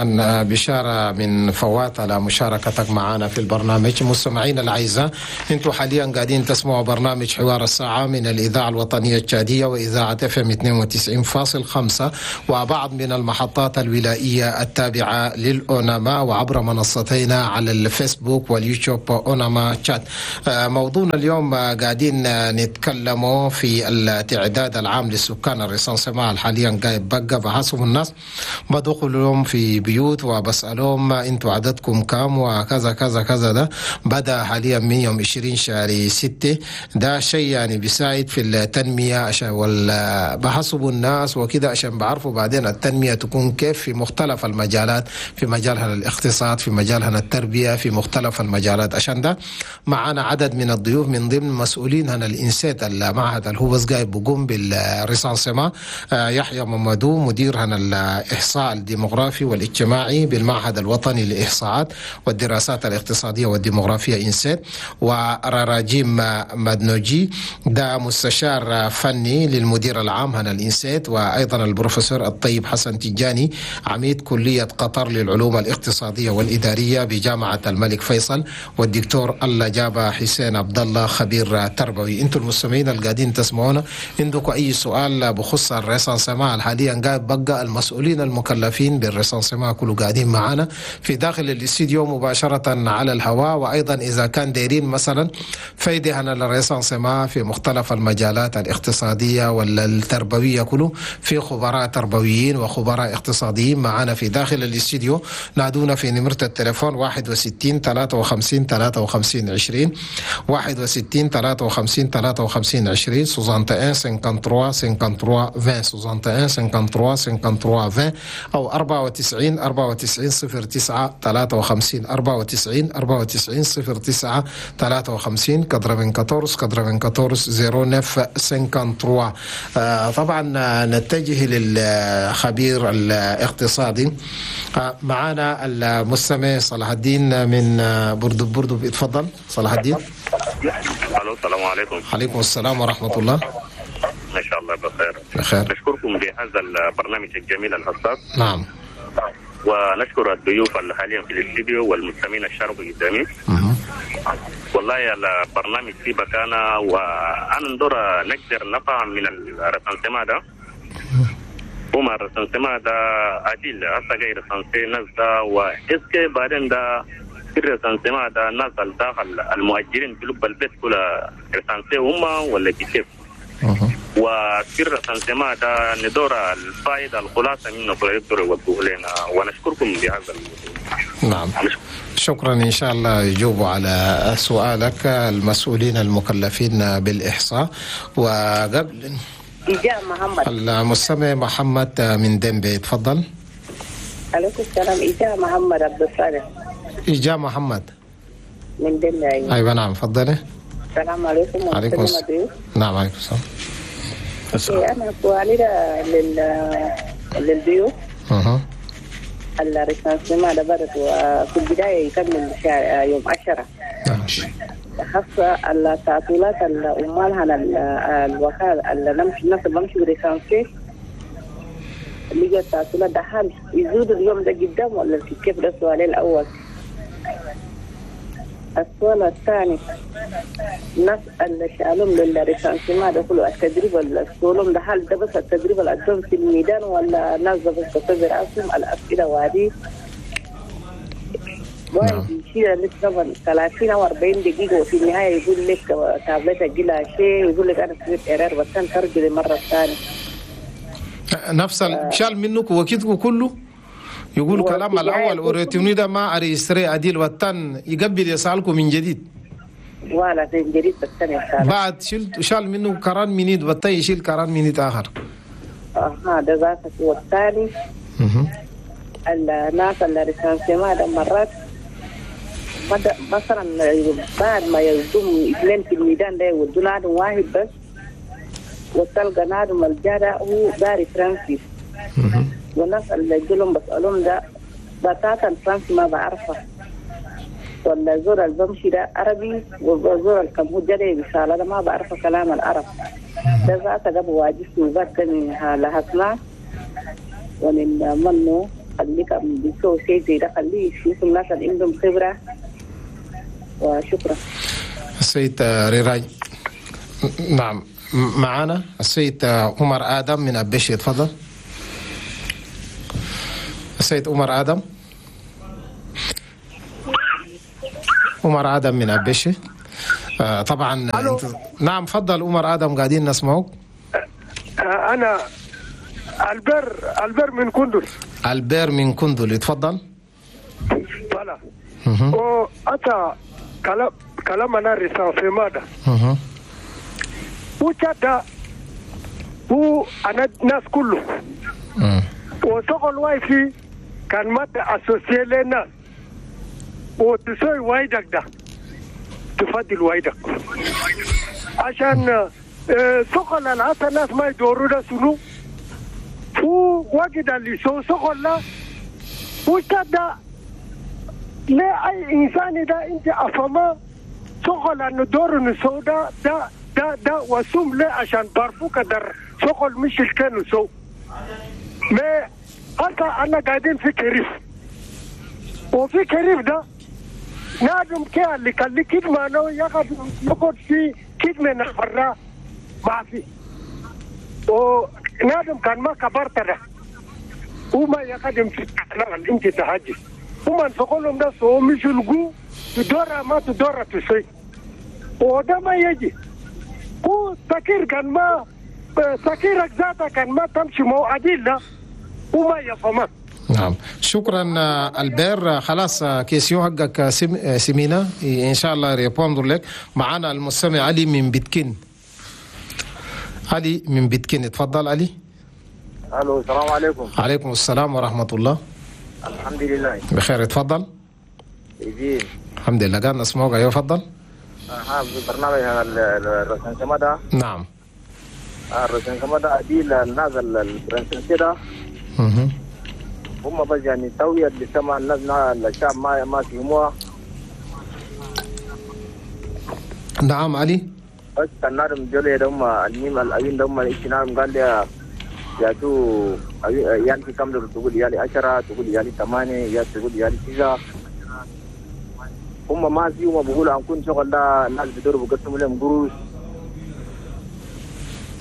أن بشارة من فوات على مشاركتك معنا في البرنامج. مستمعين الأعزاء، انتم حاليا قاعدين تسمعوا برنامج حوار الساعة من الإذاعة الوطنية التشادية وإذاعة FM 92.5 وبعض من المحطات الولائية التابعة للأوناما وعبر منصتينا على الفيسبوك واليوتيوب أوناما تشاد. موضوعنا اليوم قاعدين نتكلموا في التعداد العام للسكان ال recensement حاليا قاعد بقى بحسب الناس بدخلهم في بيوت وبسألهم انتوا عددكم كام وكذا كذا كذا. ده بدأ حاليا من يوم 20 شهر 6. ده شيء يعني بيساعد في التنمية عشان بحسبوا الناس وكده عشان بعرفوا بعدين التنمية تكون كيف في مختلف المجالات، في مجالها الاقتصاد، في مجالها التربية، في مختلف المجالات. عشان ده معنا عدد من الضيوف من ضمن مسؤولين هنا ال INSET المعهد اللي هو بس قاعد بقوم بال recensement، يحيى ممدو مدير هنا الإحصاء الديموغرافي والاجتماعي بالمعهد الوطني للإحصاءات والدراسات الاقتصادية والديموغرافية INSET، وراجيم مدنوجي ده مستشار فني للمدير العام هنا ال INSET، وأيضا البروفيسور الطيب حسن تجاني عميد كلية قطر للعلوم الاقتصادية والإدارية بجامعة الملك فيصل، والدكتور الله جابة حسين عبد الله خبير تربوي. انتم المستمعين القاعدين تسمعونا، عندكم أي سؤال بخص ال recensement حاليا قاعد بقى المسؤولين المكلفين بال recensement كله قاعدين معانا في داخل الاستديو مباشرة على الهواء، وأيضا إذا كان دايرين مثلا فايدة عن ال recensement في مختلف المجالات الاقتصادية والتربوية كله في خبراء تربويين وخبراء اقتصاديين معانا في داخل الاستديو. نادونا في نمرة التليفون 61 53 53 20 61 53 53 20 61 53 53 20 61 53 53 20 أو 94 94 09 53 94 94 09 53 94 94 09 53. طبعا نتجه للخبير الاقتصادي. معنا المستمع صلاح الدين من بردب. بردب اتفضل صلاح الدين. الو السلام عليكم. عليكم السلام ورحمة الله. ما شاء الله بخير. بخير. نشكركم بهذا البرنامج الجميل الحساس. نعم. ونشكر الضيوف اللي حاليا في الاستديو والمستمعين الشرق قدامي. والله البرنامج في بكانة وانا ندور نقدر نفهم من ال recensement ده. هما ال recensement ده عديل هسه جاي recenser ناس ده و est-ce que بعدين ده في ال recensement ده الناس اللي داخل المؤجرين في لب البيت كلها recenser هما ولا كيف؟ وفي ال recensement ده ندور الفائدة الخلاصة منه يقدروا يوضحوا لنا ونشكركم بهذا. نعم شكرا. إن شاء الله يجوبوا على سؤالك المسؤولين المكلفين بالإحصاء. وقبل محمد المستمع محمد من دنبي تفضل. عليكم السلام. إجاء محمد عبد الصالح. إجاء محمد من دنبي. أيوة نعم تفضلي. السلام عليكم. وعليكم السلام. نعم عليكم السلام. أنا سؤالي للضيوف. ال recensement ده بدت وفي البداية يكمل يوم 10. خاصة التعطيلات الأمال على الوكالة اللي نمشي الناس اللي بمشي ب recenser اللي التعطيلات ده هل يزود اليوم ده قدام ولا كيف؟ ده السؤال الأول. السؤال الثاني الناس اللي شالهم لل recensement ده كله التدريب السؤالهم ده هل ده بس التدريب اللي قدام في الميدان ولا الناس ده بس تصدر أسهم الأسئلة وهذه واحد يشيل لسه 30 أو 40 دقيقة وفي النهاية يقول لك تابلتك جيلها شيء ويقول لك أنا سويت إيرور بس أنا ترجع للمرة الثانية. نفس شال منك وكتبه كله يقول كلام الأول وريتوني ده ما أريستري عديل والتن يقبل يسألكم من جديد. ولا من جديد بالثاني بعد شال منه كران منيد والتن يشيل كران منيد آخر. هذا ذاك والثاني الناس اللي recensement ده مرات مثلا بعد ما يزدم اثنين في الميدان ده يودوا نادم واحد بس وتلقى نادم الجارة هو داري فرنسي. والناس اللي يجولهم بسألهم ده بتاتا الفرنسي ما بعرفها، ولا زور البمشي ده عربي، وزور الكمهود ده رسالة ده ما بعرفه كلام العرب ده ذاته قبل واجسني وبرتني لهسنا ومن منه خليك بيسوي شيء زي ده، خليه يشوف الناس اللي عندهم خبرة. وشكرا. السيد ريراي. نعم معنا السيد عمر آدم من أبشي، تفضل. السيد عمر آدم، عمر آدم من أبشي. طبعا نعم تفضل عمر آدم، قاعدين نسمعك. أنا البر من كندل. البر من كندل، تفضل. بلا أتا كلام أنا recensement ده وتدا هو أنا الناس كله وشغل وايفي كان ما associé لنا وتسوي وايدك ده تفضل وايدك عشان شغل العطا الناس ما يدوروا ده سنو هو واجد اللي شغل لا وتدا لا أي إنسان ده أنت أفهمه شغل أنه دور نسو ده ده ده ده وسوم لا عشان بارفوك در شغل مش الكانوا سو ما حتى أنا قاعدين في كريف وفي كريف ده نادم كي اللي كان لي كده ما نو يقعد في كده من الفرا ما في ونادم كان ما كبرت ده وما يقدم في الكلام اللي أنت تهاجي وما نفقولهم ده سو مش الجو تدورة ما تدورة تسوي وده ما يجي هو تكير كان ما تكيرك ذاته كان ما تمشي مو عديل وما يفهمك. نعم شكرا البير. خلاص question حقك سمينا ان شاء الله répondre لك. معنا المستمع علي من بيتكين. علي من بيتكين، تفضل علي. الو السلام عليكم. عليكم السلام ورحمة الله. الحمد لله بخير، تفضل. الحمد لله قاعد نسمعك. ايوه تفضل. برنامج ال recensement ده. نعم ال recensement ده عديل الناس ال recensé ده هم بس يعني توية اللي سمع الناس الشعب ما فهموها. نعم علي. بس النار جولي ده هم الميم الأوين ده هم الاجتنام قال لي يا تو يعني في كم تقول يالي 10 تقول يالي 8 يا تقول يالي 9 هم ما فيهم بيقولوا عن كل شغل ده الناس بيدوروا بيقسموا لهم قروش.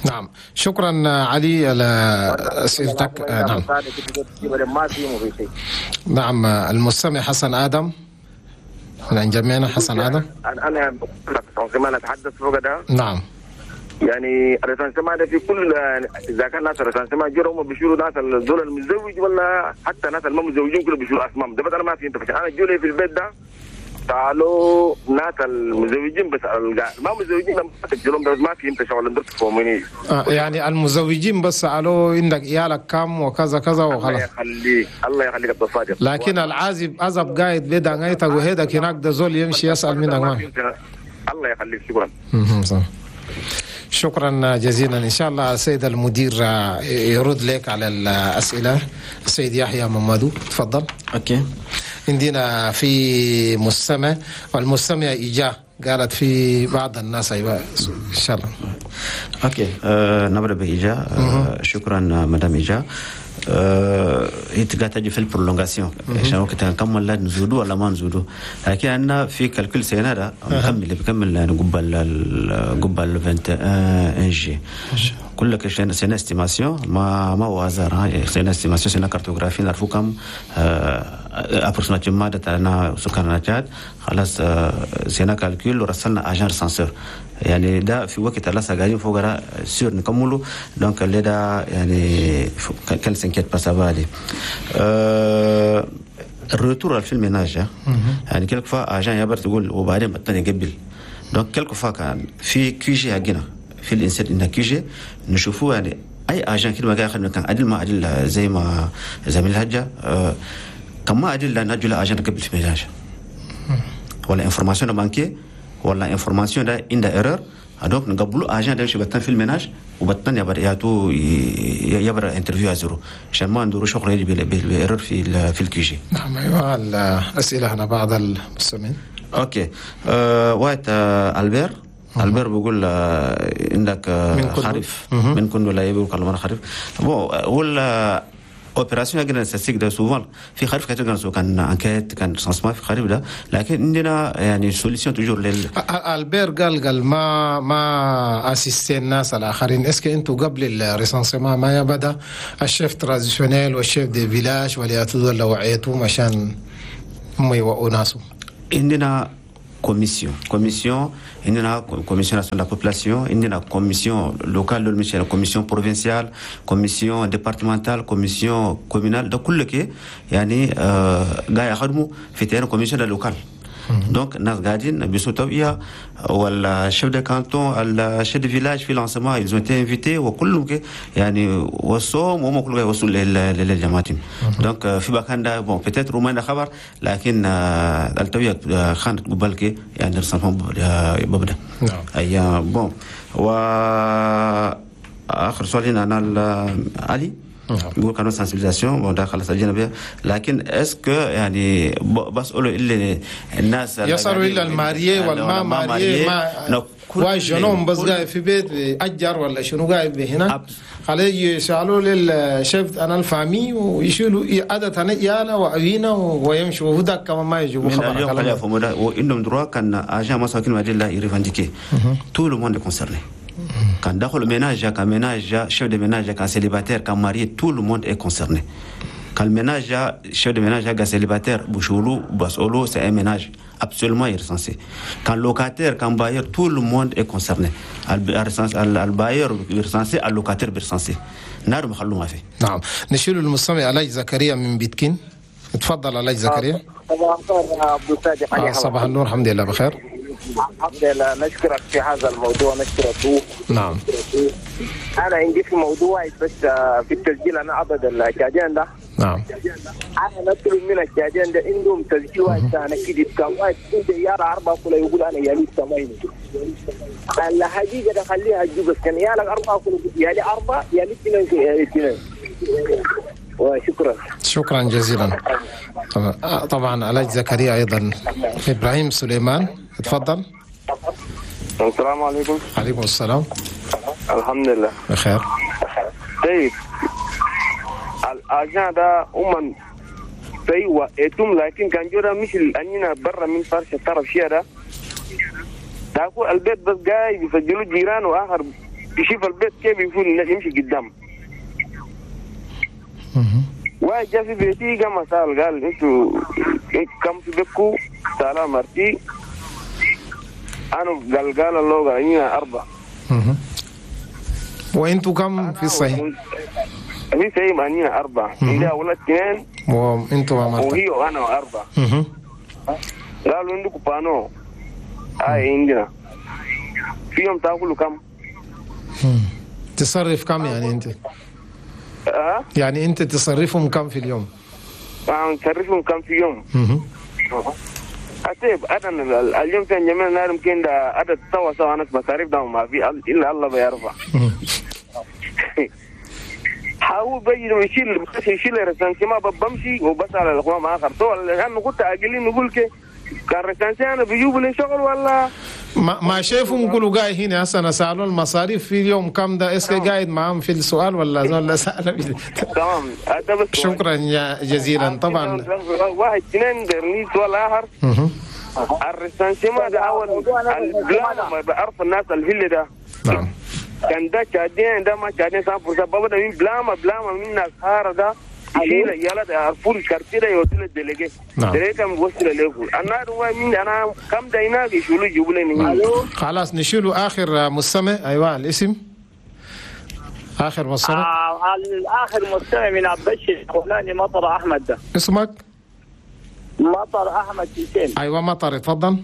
نعم شكرا علي على اسئلتك. نعم نعم المستمع حسن ادم من جميعنا. حسن ادم. انا انا اتحدث فوق ده. نعم يعني ال recensement ده في كل اذا كان ناس ال recensement جروا هم بيشيلوا ناس دول المتزوج ولا حتى ناس اللي ما متزوجين كلهم بيشيلوا اسمائهم ده. بس انا ما في انت انا جولي في البيت ده تعالوا ناس المزوجين بس ما مزوجين لما تسجلهم بس ما في انت شغل انت تفهموني. يعني المزوجين بس سالوا عندك عيالك كم وكذا كذا وخلاص. الله يخليك الله يخليك عبد الصادق. لكن العازب عزب قاعد بيدا غايتك وهيدك هناك ده زول يمشي يسال منك ما. الله يخليك شكرا. صح. شكرا جزيلا. ان شاء الله السيد المدير يرد لك على الاسئلة. السيد يحيى ممادو تفضل. okay عندنا في مستمع والمستمع إيجا قالت في بعض الناس. ايوه ان شاء الله. okay نبدا بإيجا. شكرا مدام إيجا. هي تجي في ال prolongation عشان وقت نكمل لا نزودو ولا ما نزودو، لكن عندنا في calcul سنة ده نكمل بكمل يعني قبل 21 جي كل شيء c'est une estimation ما هو hasard، c'est une estimation c'est une cartographie نعرفوا كم approximativement تاعنا سكان تشاد. خلاص c'est un calcul ورسلنا agent recenseur يعني ده في وقت لسه قاعدين فوق sûr نكملوا donc اللي ده يعني qu'elle s'inquiète pas ça va aller. ال retour في ال ménage يعني quelquefois agent يبر تقول وبعدين الثاني يقبل donc quelquefois كان في QG حقنا في الانسان ان QG نشوفوه يعني اي agent كده ما قاعد كان عدل ما عدل زي ما زميل الحجة كما عدل لا نجل agent قبل في ménage ولا information manquée ولا information ده عندها erreur donc نقبلوا agent ده بتن في ال ménage وبتن يبر ياتو يبر interview à zéro عشان ما ندورو شغل يجي بال erreur في ال QG. نعم ايوه الاسئلة هنا بعض المستمعين. OK وايت البير بيقول عندك خريف من كله لا يبي كلام خريف bon ولا opération قلنا statistique ده souvent في خريف كثير كان كان enquête كان recensement في خريف ده، لكن عندنا يعني solution toujours لل البير قال ما assister الناس الاخرين. est-ce que انتم قبل ال recensement ما يبدا ال chef traditionnel وال chef de village ولا تدول وعيتهم عشان هم يوقوا ناسهم؟ عندنا commission عندنا commission nationale de la population، عندنا commission locale de commission provinciale، commission départementale، commission communale، ده كله كي يعني قاعد يخدموا في terrain commission locale. donc الناس قاعدين بيسوا توعية ولا chef de canton ال chef de village في lancement ils ont été invités وكلهم يعني وصوم وهم كلهم يوصلوا للجماعات. donc في مكان ده bon peut-être ما خبر، لكن التوعية خانت قبل يعني رسمهم ببدا. نعم اي bon و اخر سؤال هنا انا علي بيقول كانوا sensibilisation bon ده خلاص اجينا بها، لكن est-ce que يعني بسالوا اللي الناس يسالوا الا ال marié والما marié ما واجنون بس قاعد في بيت اجر ولا شنو قاعد هنا عليه يسالوا للشيف انا ال famille ويشيلوا عادة انا يالا وعينا ويمشوا وهداك كمان ما يجيبوا خبر اليوم خليها فمودا وانهم droit كان agent ما ساكن مدينة لا ي revendiquer tout le monde concerné. Quand dans le ménage, quand ménage, chef de ménage, quand célibataire, quand marié, tout le monde est concerné. Quand le ménage, chef de ménage, quand célibataire, bouchoulou, basolo, c'est un ménage absolument recensé. Quand locataire, quand bailleur, tout le monde est concerné. Al bailleur recensé, al locataire recensé. نار مخلو ما فيه. نعم نشيل المستمع علاج زكريا من بيتكين. تفضل علاج زكريا. صباح الخير عبد الصادق. صباح النور، الحمد لله بخير. الحمد لله، نشكرك في هذا الموضوع، نشكرك. نعم انا عندي في موضوع بس في التسجيل، انا عبد الشادين ده. نعم انا نطلب من الشادين ده عندهم تسجيل واحد انا كده كم واحد انت يا اربعة كله يقول انا يالي ثمانية. الحقيقة ده خليها تجيب بس كان يالك اربعة كله يالي اربعة يالي اثنين يالي اثنين. وشكرا. شكرا جزيلا. طبعا علاج زكريا ايضا. ابراهيم سليمان تفضل. السلام عليكم. عليكم السلام. الحمد لله بخير. طيب ال agent ده هم ايوه اتم، لكن كان جورا مش اننا برا من فرش الطرف شيء ده تاكل البيت بس جاي بيسجلوا جيران واخر يشوف البيت كيف يكون يمشي قدام. واحد جا في بيتي قام سأل قال انتوا كم في بيتكو؟ سألها مرتي انا قال الله قال اني اربعة. وانتوا كم في الصحيح؟ في صحيح انينا اربعة، عندي اولاد اثنين وانتوا مرتك وهي وانا واربعة. قالوا عندكم بانو؟ اي عندنا. في يوم تاكلوا كم؟ تصرف كم يعني انت؟ يعني انت تصرفهم كم في اليوم؟ نصرفهم كم في يوم؟ طيب انا اليوم كان جميع نار يمكن ده عدد سوا سوا انا مصاريف ده ما في الا الله بيرفع. حاول بيجي يشيل بس يشيل recensement بمشي وبس على الاخوان ما اخر تو لانه كنت اقلين نقول كي كان recensement انا بيجيبوا لي شغل ولا ما شايفهم يقولوا قاعد هنا هسه انا سالوا المصاريف في اليوم كم ده est-ce que قاعد معاهم في السؤال ولا سال. تمام شكرا جزيلا. طبعا واحد اثنين درني سؤال اخر. ال recensement ده اول ال plan بعرف الناس الهل ده. نعم كان ده شادين ده ما شادين 100% بابا من بلاما بلاما من ناس هارة ده يشيل يلا ده عرفوا ال quartier ده يودوا لل délégué. نعم délégué كم وصل له انا هو من انا كم داينا يشيلوا يجيبوا لي. خلاص نشيلوا اخر مستمع. ايوه الاسم اخر مستمع. اخر مستمع من عبدالشيخ فلاني مطر احمد ده. اسمك؟ مطر احمد حسين. ايوه مطر تفضل.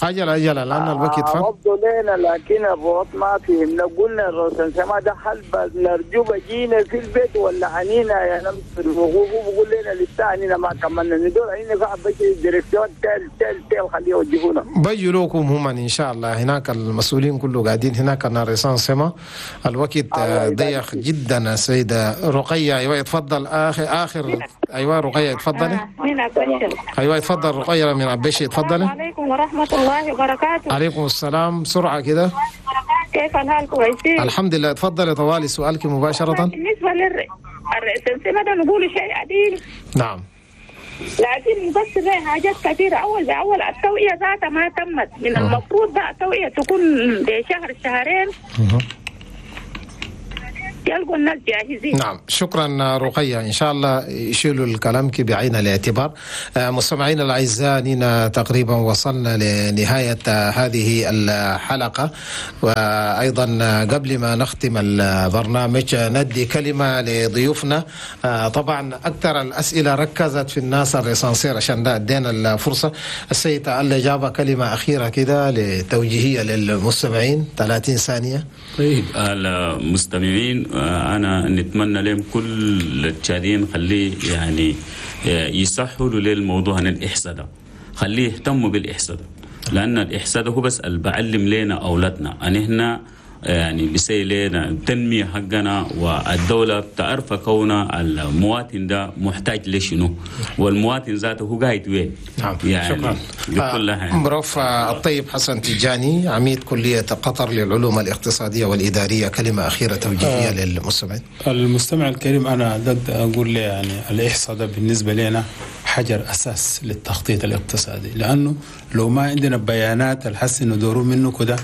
أجل لأن الوقت فات. وضوا لنا لكن الروت ما فهمنا، قلنا ال recensement ده هل نرجو بجينا في البيت ولا عنينا يا نمس في الوقوف، بقول لنا لسه عنينا ما كملنا ندور عنينا في بجي direction تل تل تل خليه يوجهونا. بيجوا هم إن شاء الله، هناك المسؤولين كله قاعدين هناك ال recensement. الوقت ضيق جدا. السيدة رقية، أيوة اتفضل. آخر أيوة رقية اتفضلي. أيوة اتفضل رقية من عبيشي، اتفضلي. السلام عليكم ورحمة الله وبركاته. عليكم السلام. بسرعة كده، كيف الحال؟ كويسين الحمد لله. اتفضلي طوالي سؤالك مباشرة. بالنسبة لل recensement ده نقول شيء عديل. نعم، لكن بس زي حاجات كثيرة أول بأول التوعية ذاتها ما تمت. من المفروض بقى التوعية تكون بشهر شهرين يلقوا الناس جاهزين. نعم، شكرا رقية، إن شاء الله يشيلوا الكلام بعين الاعتبار. مستمعينا الأعزاء، نينا تقريبا وصلنا لنهاية هذه الحلقة، وأيضا قبل ما نختم البرنامج ندي كلمة لضيوفنا. طبعا أكثر الأسئلة ركزت في الناس ال recenseur، عشان ده ادينا الفرصة. السيد اللي جاب كلمة أخيرة كده لتوجيهية للمستمعين، 30 ثانية. طيب المستمعين، أنا نتمنى لهم كل التشاديين خليه يعني يسهلوا للموضوع عن الإحصاء ده، خليه يهتموا بالإحصاء ده، لأن الإحصاء ده هو بس اللي بعلم لنا أولادنا أن إحنا يعني بيسي لنا التنمية حقنا، والدولة بتعرف كونه المواطن ده محتاج لشنو، والمواطن ذاته هو قاعد وين. نعم، يعني شكرا. بروف الطيب حسن تجاني، عميد كلية قطر للعلوم الاقتصادية والإدارية، كلمة أخيرة توجيهية للمستمعين. المستمع الكريم، أنا أقول له يعني الإحصاء ده بالنسبة لنا حجر أساس للتخطيط الاقتصادي، لأنه لو ما عندنا بيانات الحس ندوروا منه كده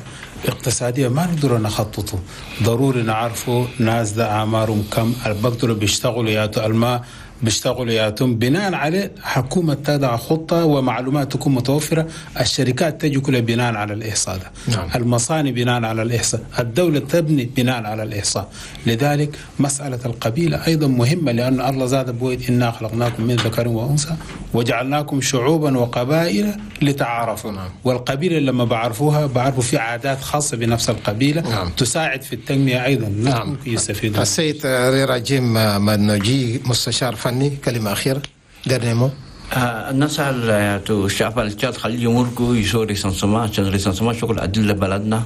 اقتصادية ما نقدر نخططه. ضروري نعرفه ناس ده أعمارهم كم، بقدروا بيشتغلوا ياتوا الماء بيشتغلوا ياتم، بناء عليه حكومة تضع خطة ومعلومات تكون متوفرة، الشركات تجي كلها بناء على الإحصاء ده. نعم. المصانع بناء على الإحصاء، الدولة تبني بناء على الإحصاء. لذلك مسألة القبيلة أيضا مهمة، لأن الله زاد بويد إنا خلقناكم من ذكر وأنثى وجعلناكم شعوبا وقبائل لتعارفوا. نعم. والقبيلة لما بعرفوها بعرفوا في عادات خاصة بنفس القبيلة. نعم. تساعد في التنمية أيضا. نعم. يستفيدون. السيد ريراجيم منوجي، مستشار فني، كلمة أخيرة درنمو. الناس الشعب التشاد خليه يمرقوا يسوي recensement، عشان recensement شغل عدل بلدنا.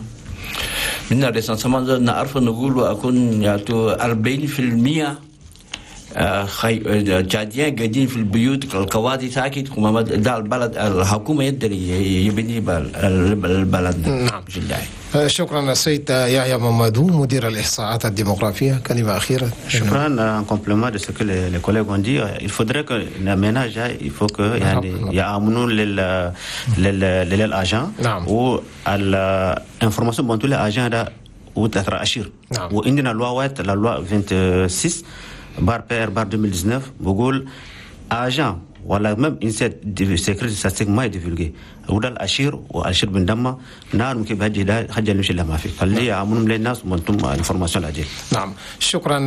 من ال recensement نعرف نقول أكون ياتو 40% تشاديين قاعدين في البيوت القواضي ساكت، وما ده البلد الحكومة يدري يبني البلد. نعم. شكرا السيد يحيى ممادو، مدير الإحصاءات الديموغرافية، كلمة أخيرة. شكرا. En complément de ce que les collègues ont dit, il faudrait que le ménage, il faut que يعني يأمنوا لل agent. نعم. و l'information بنتو l'agent ده وتترى أشير. نعم. وعندنا loi la loi 26/PR/ 2019 بقول agent ولا même INSEE secret statistique ما ي divulguer وده الاشير والاشير بندمه نار ممكن بهجي ده حاجه نمشي لها ما في خليه يعملوا للناس وانتم information العجيب. نعم، شكرا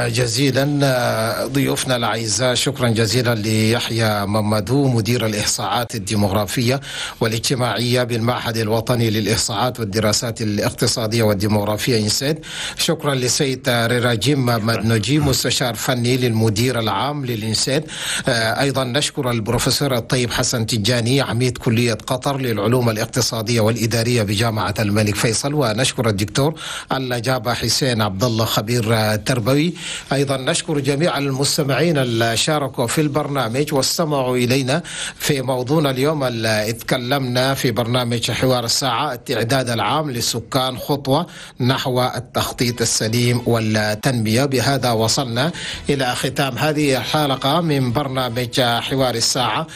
جزيلا ضيوفنا الاعزاء، شكرا جزيلا ليحيى ممدو، مدير الاحصاءات الديموغرافيه والاجتماعيه بالمعهد الوطني للاحصاءات والدراسات الاقتصاديه والديموغرافيه INSEE، شكرا لسيد ريراجيم مدنوجي، مستشار فني للمدير العام لل INSEE، ايضا نشكر البروفيسور الطيب حسن تجاني، عميد كليه قطر للعلوم الاقتصادية والإدارية بجامعة الملك فيصل، ونشكر الدكتور الجابة حسين عبد الله، خبير تربوي. أيضا نشكر جميع المستمعين اللي شاركوا في البرنامج واستمعوا إلينا في موضوعنا اليوم اللي اتكلمنا في برنامج حوار الساعة، التعداد العام للسكان خطوة نحو التخطيط السليم والتنمية. بهذا وصلنا إلى ختام هذه الحلقة من برنامج حوار الساعة،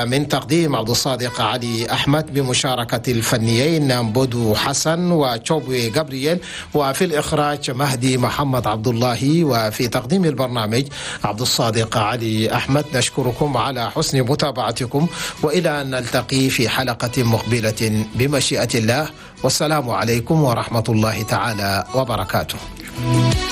من تقديم عبد الصادق علي أحمد بمشاركة الفنيين بودو حسن وتشوبوي جابرييل، وفي الإخراج مهدي محمد عبد الله، وفي تقديم البرنامج عبد الصادق علي أحمد. نشكركم على حسن متابعتكم، وإلى أن نلتقي في حلقة مقبلة بمشيئة الله، والسلام عليكم ورحمة الله تعالى وبركاته.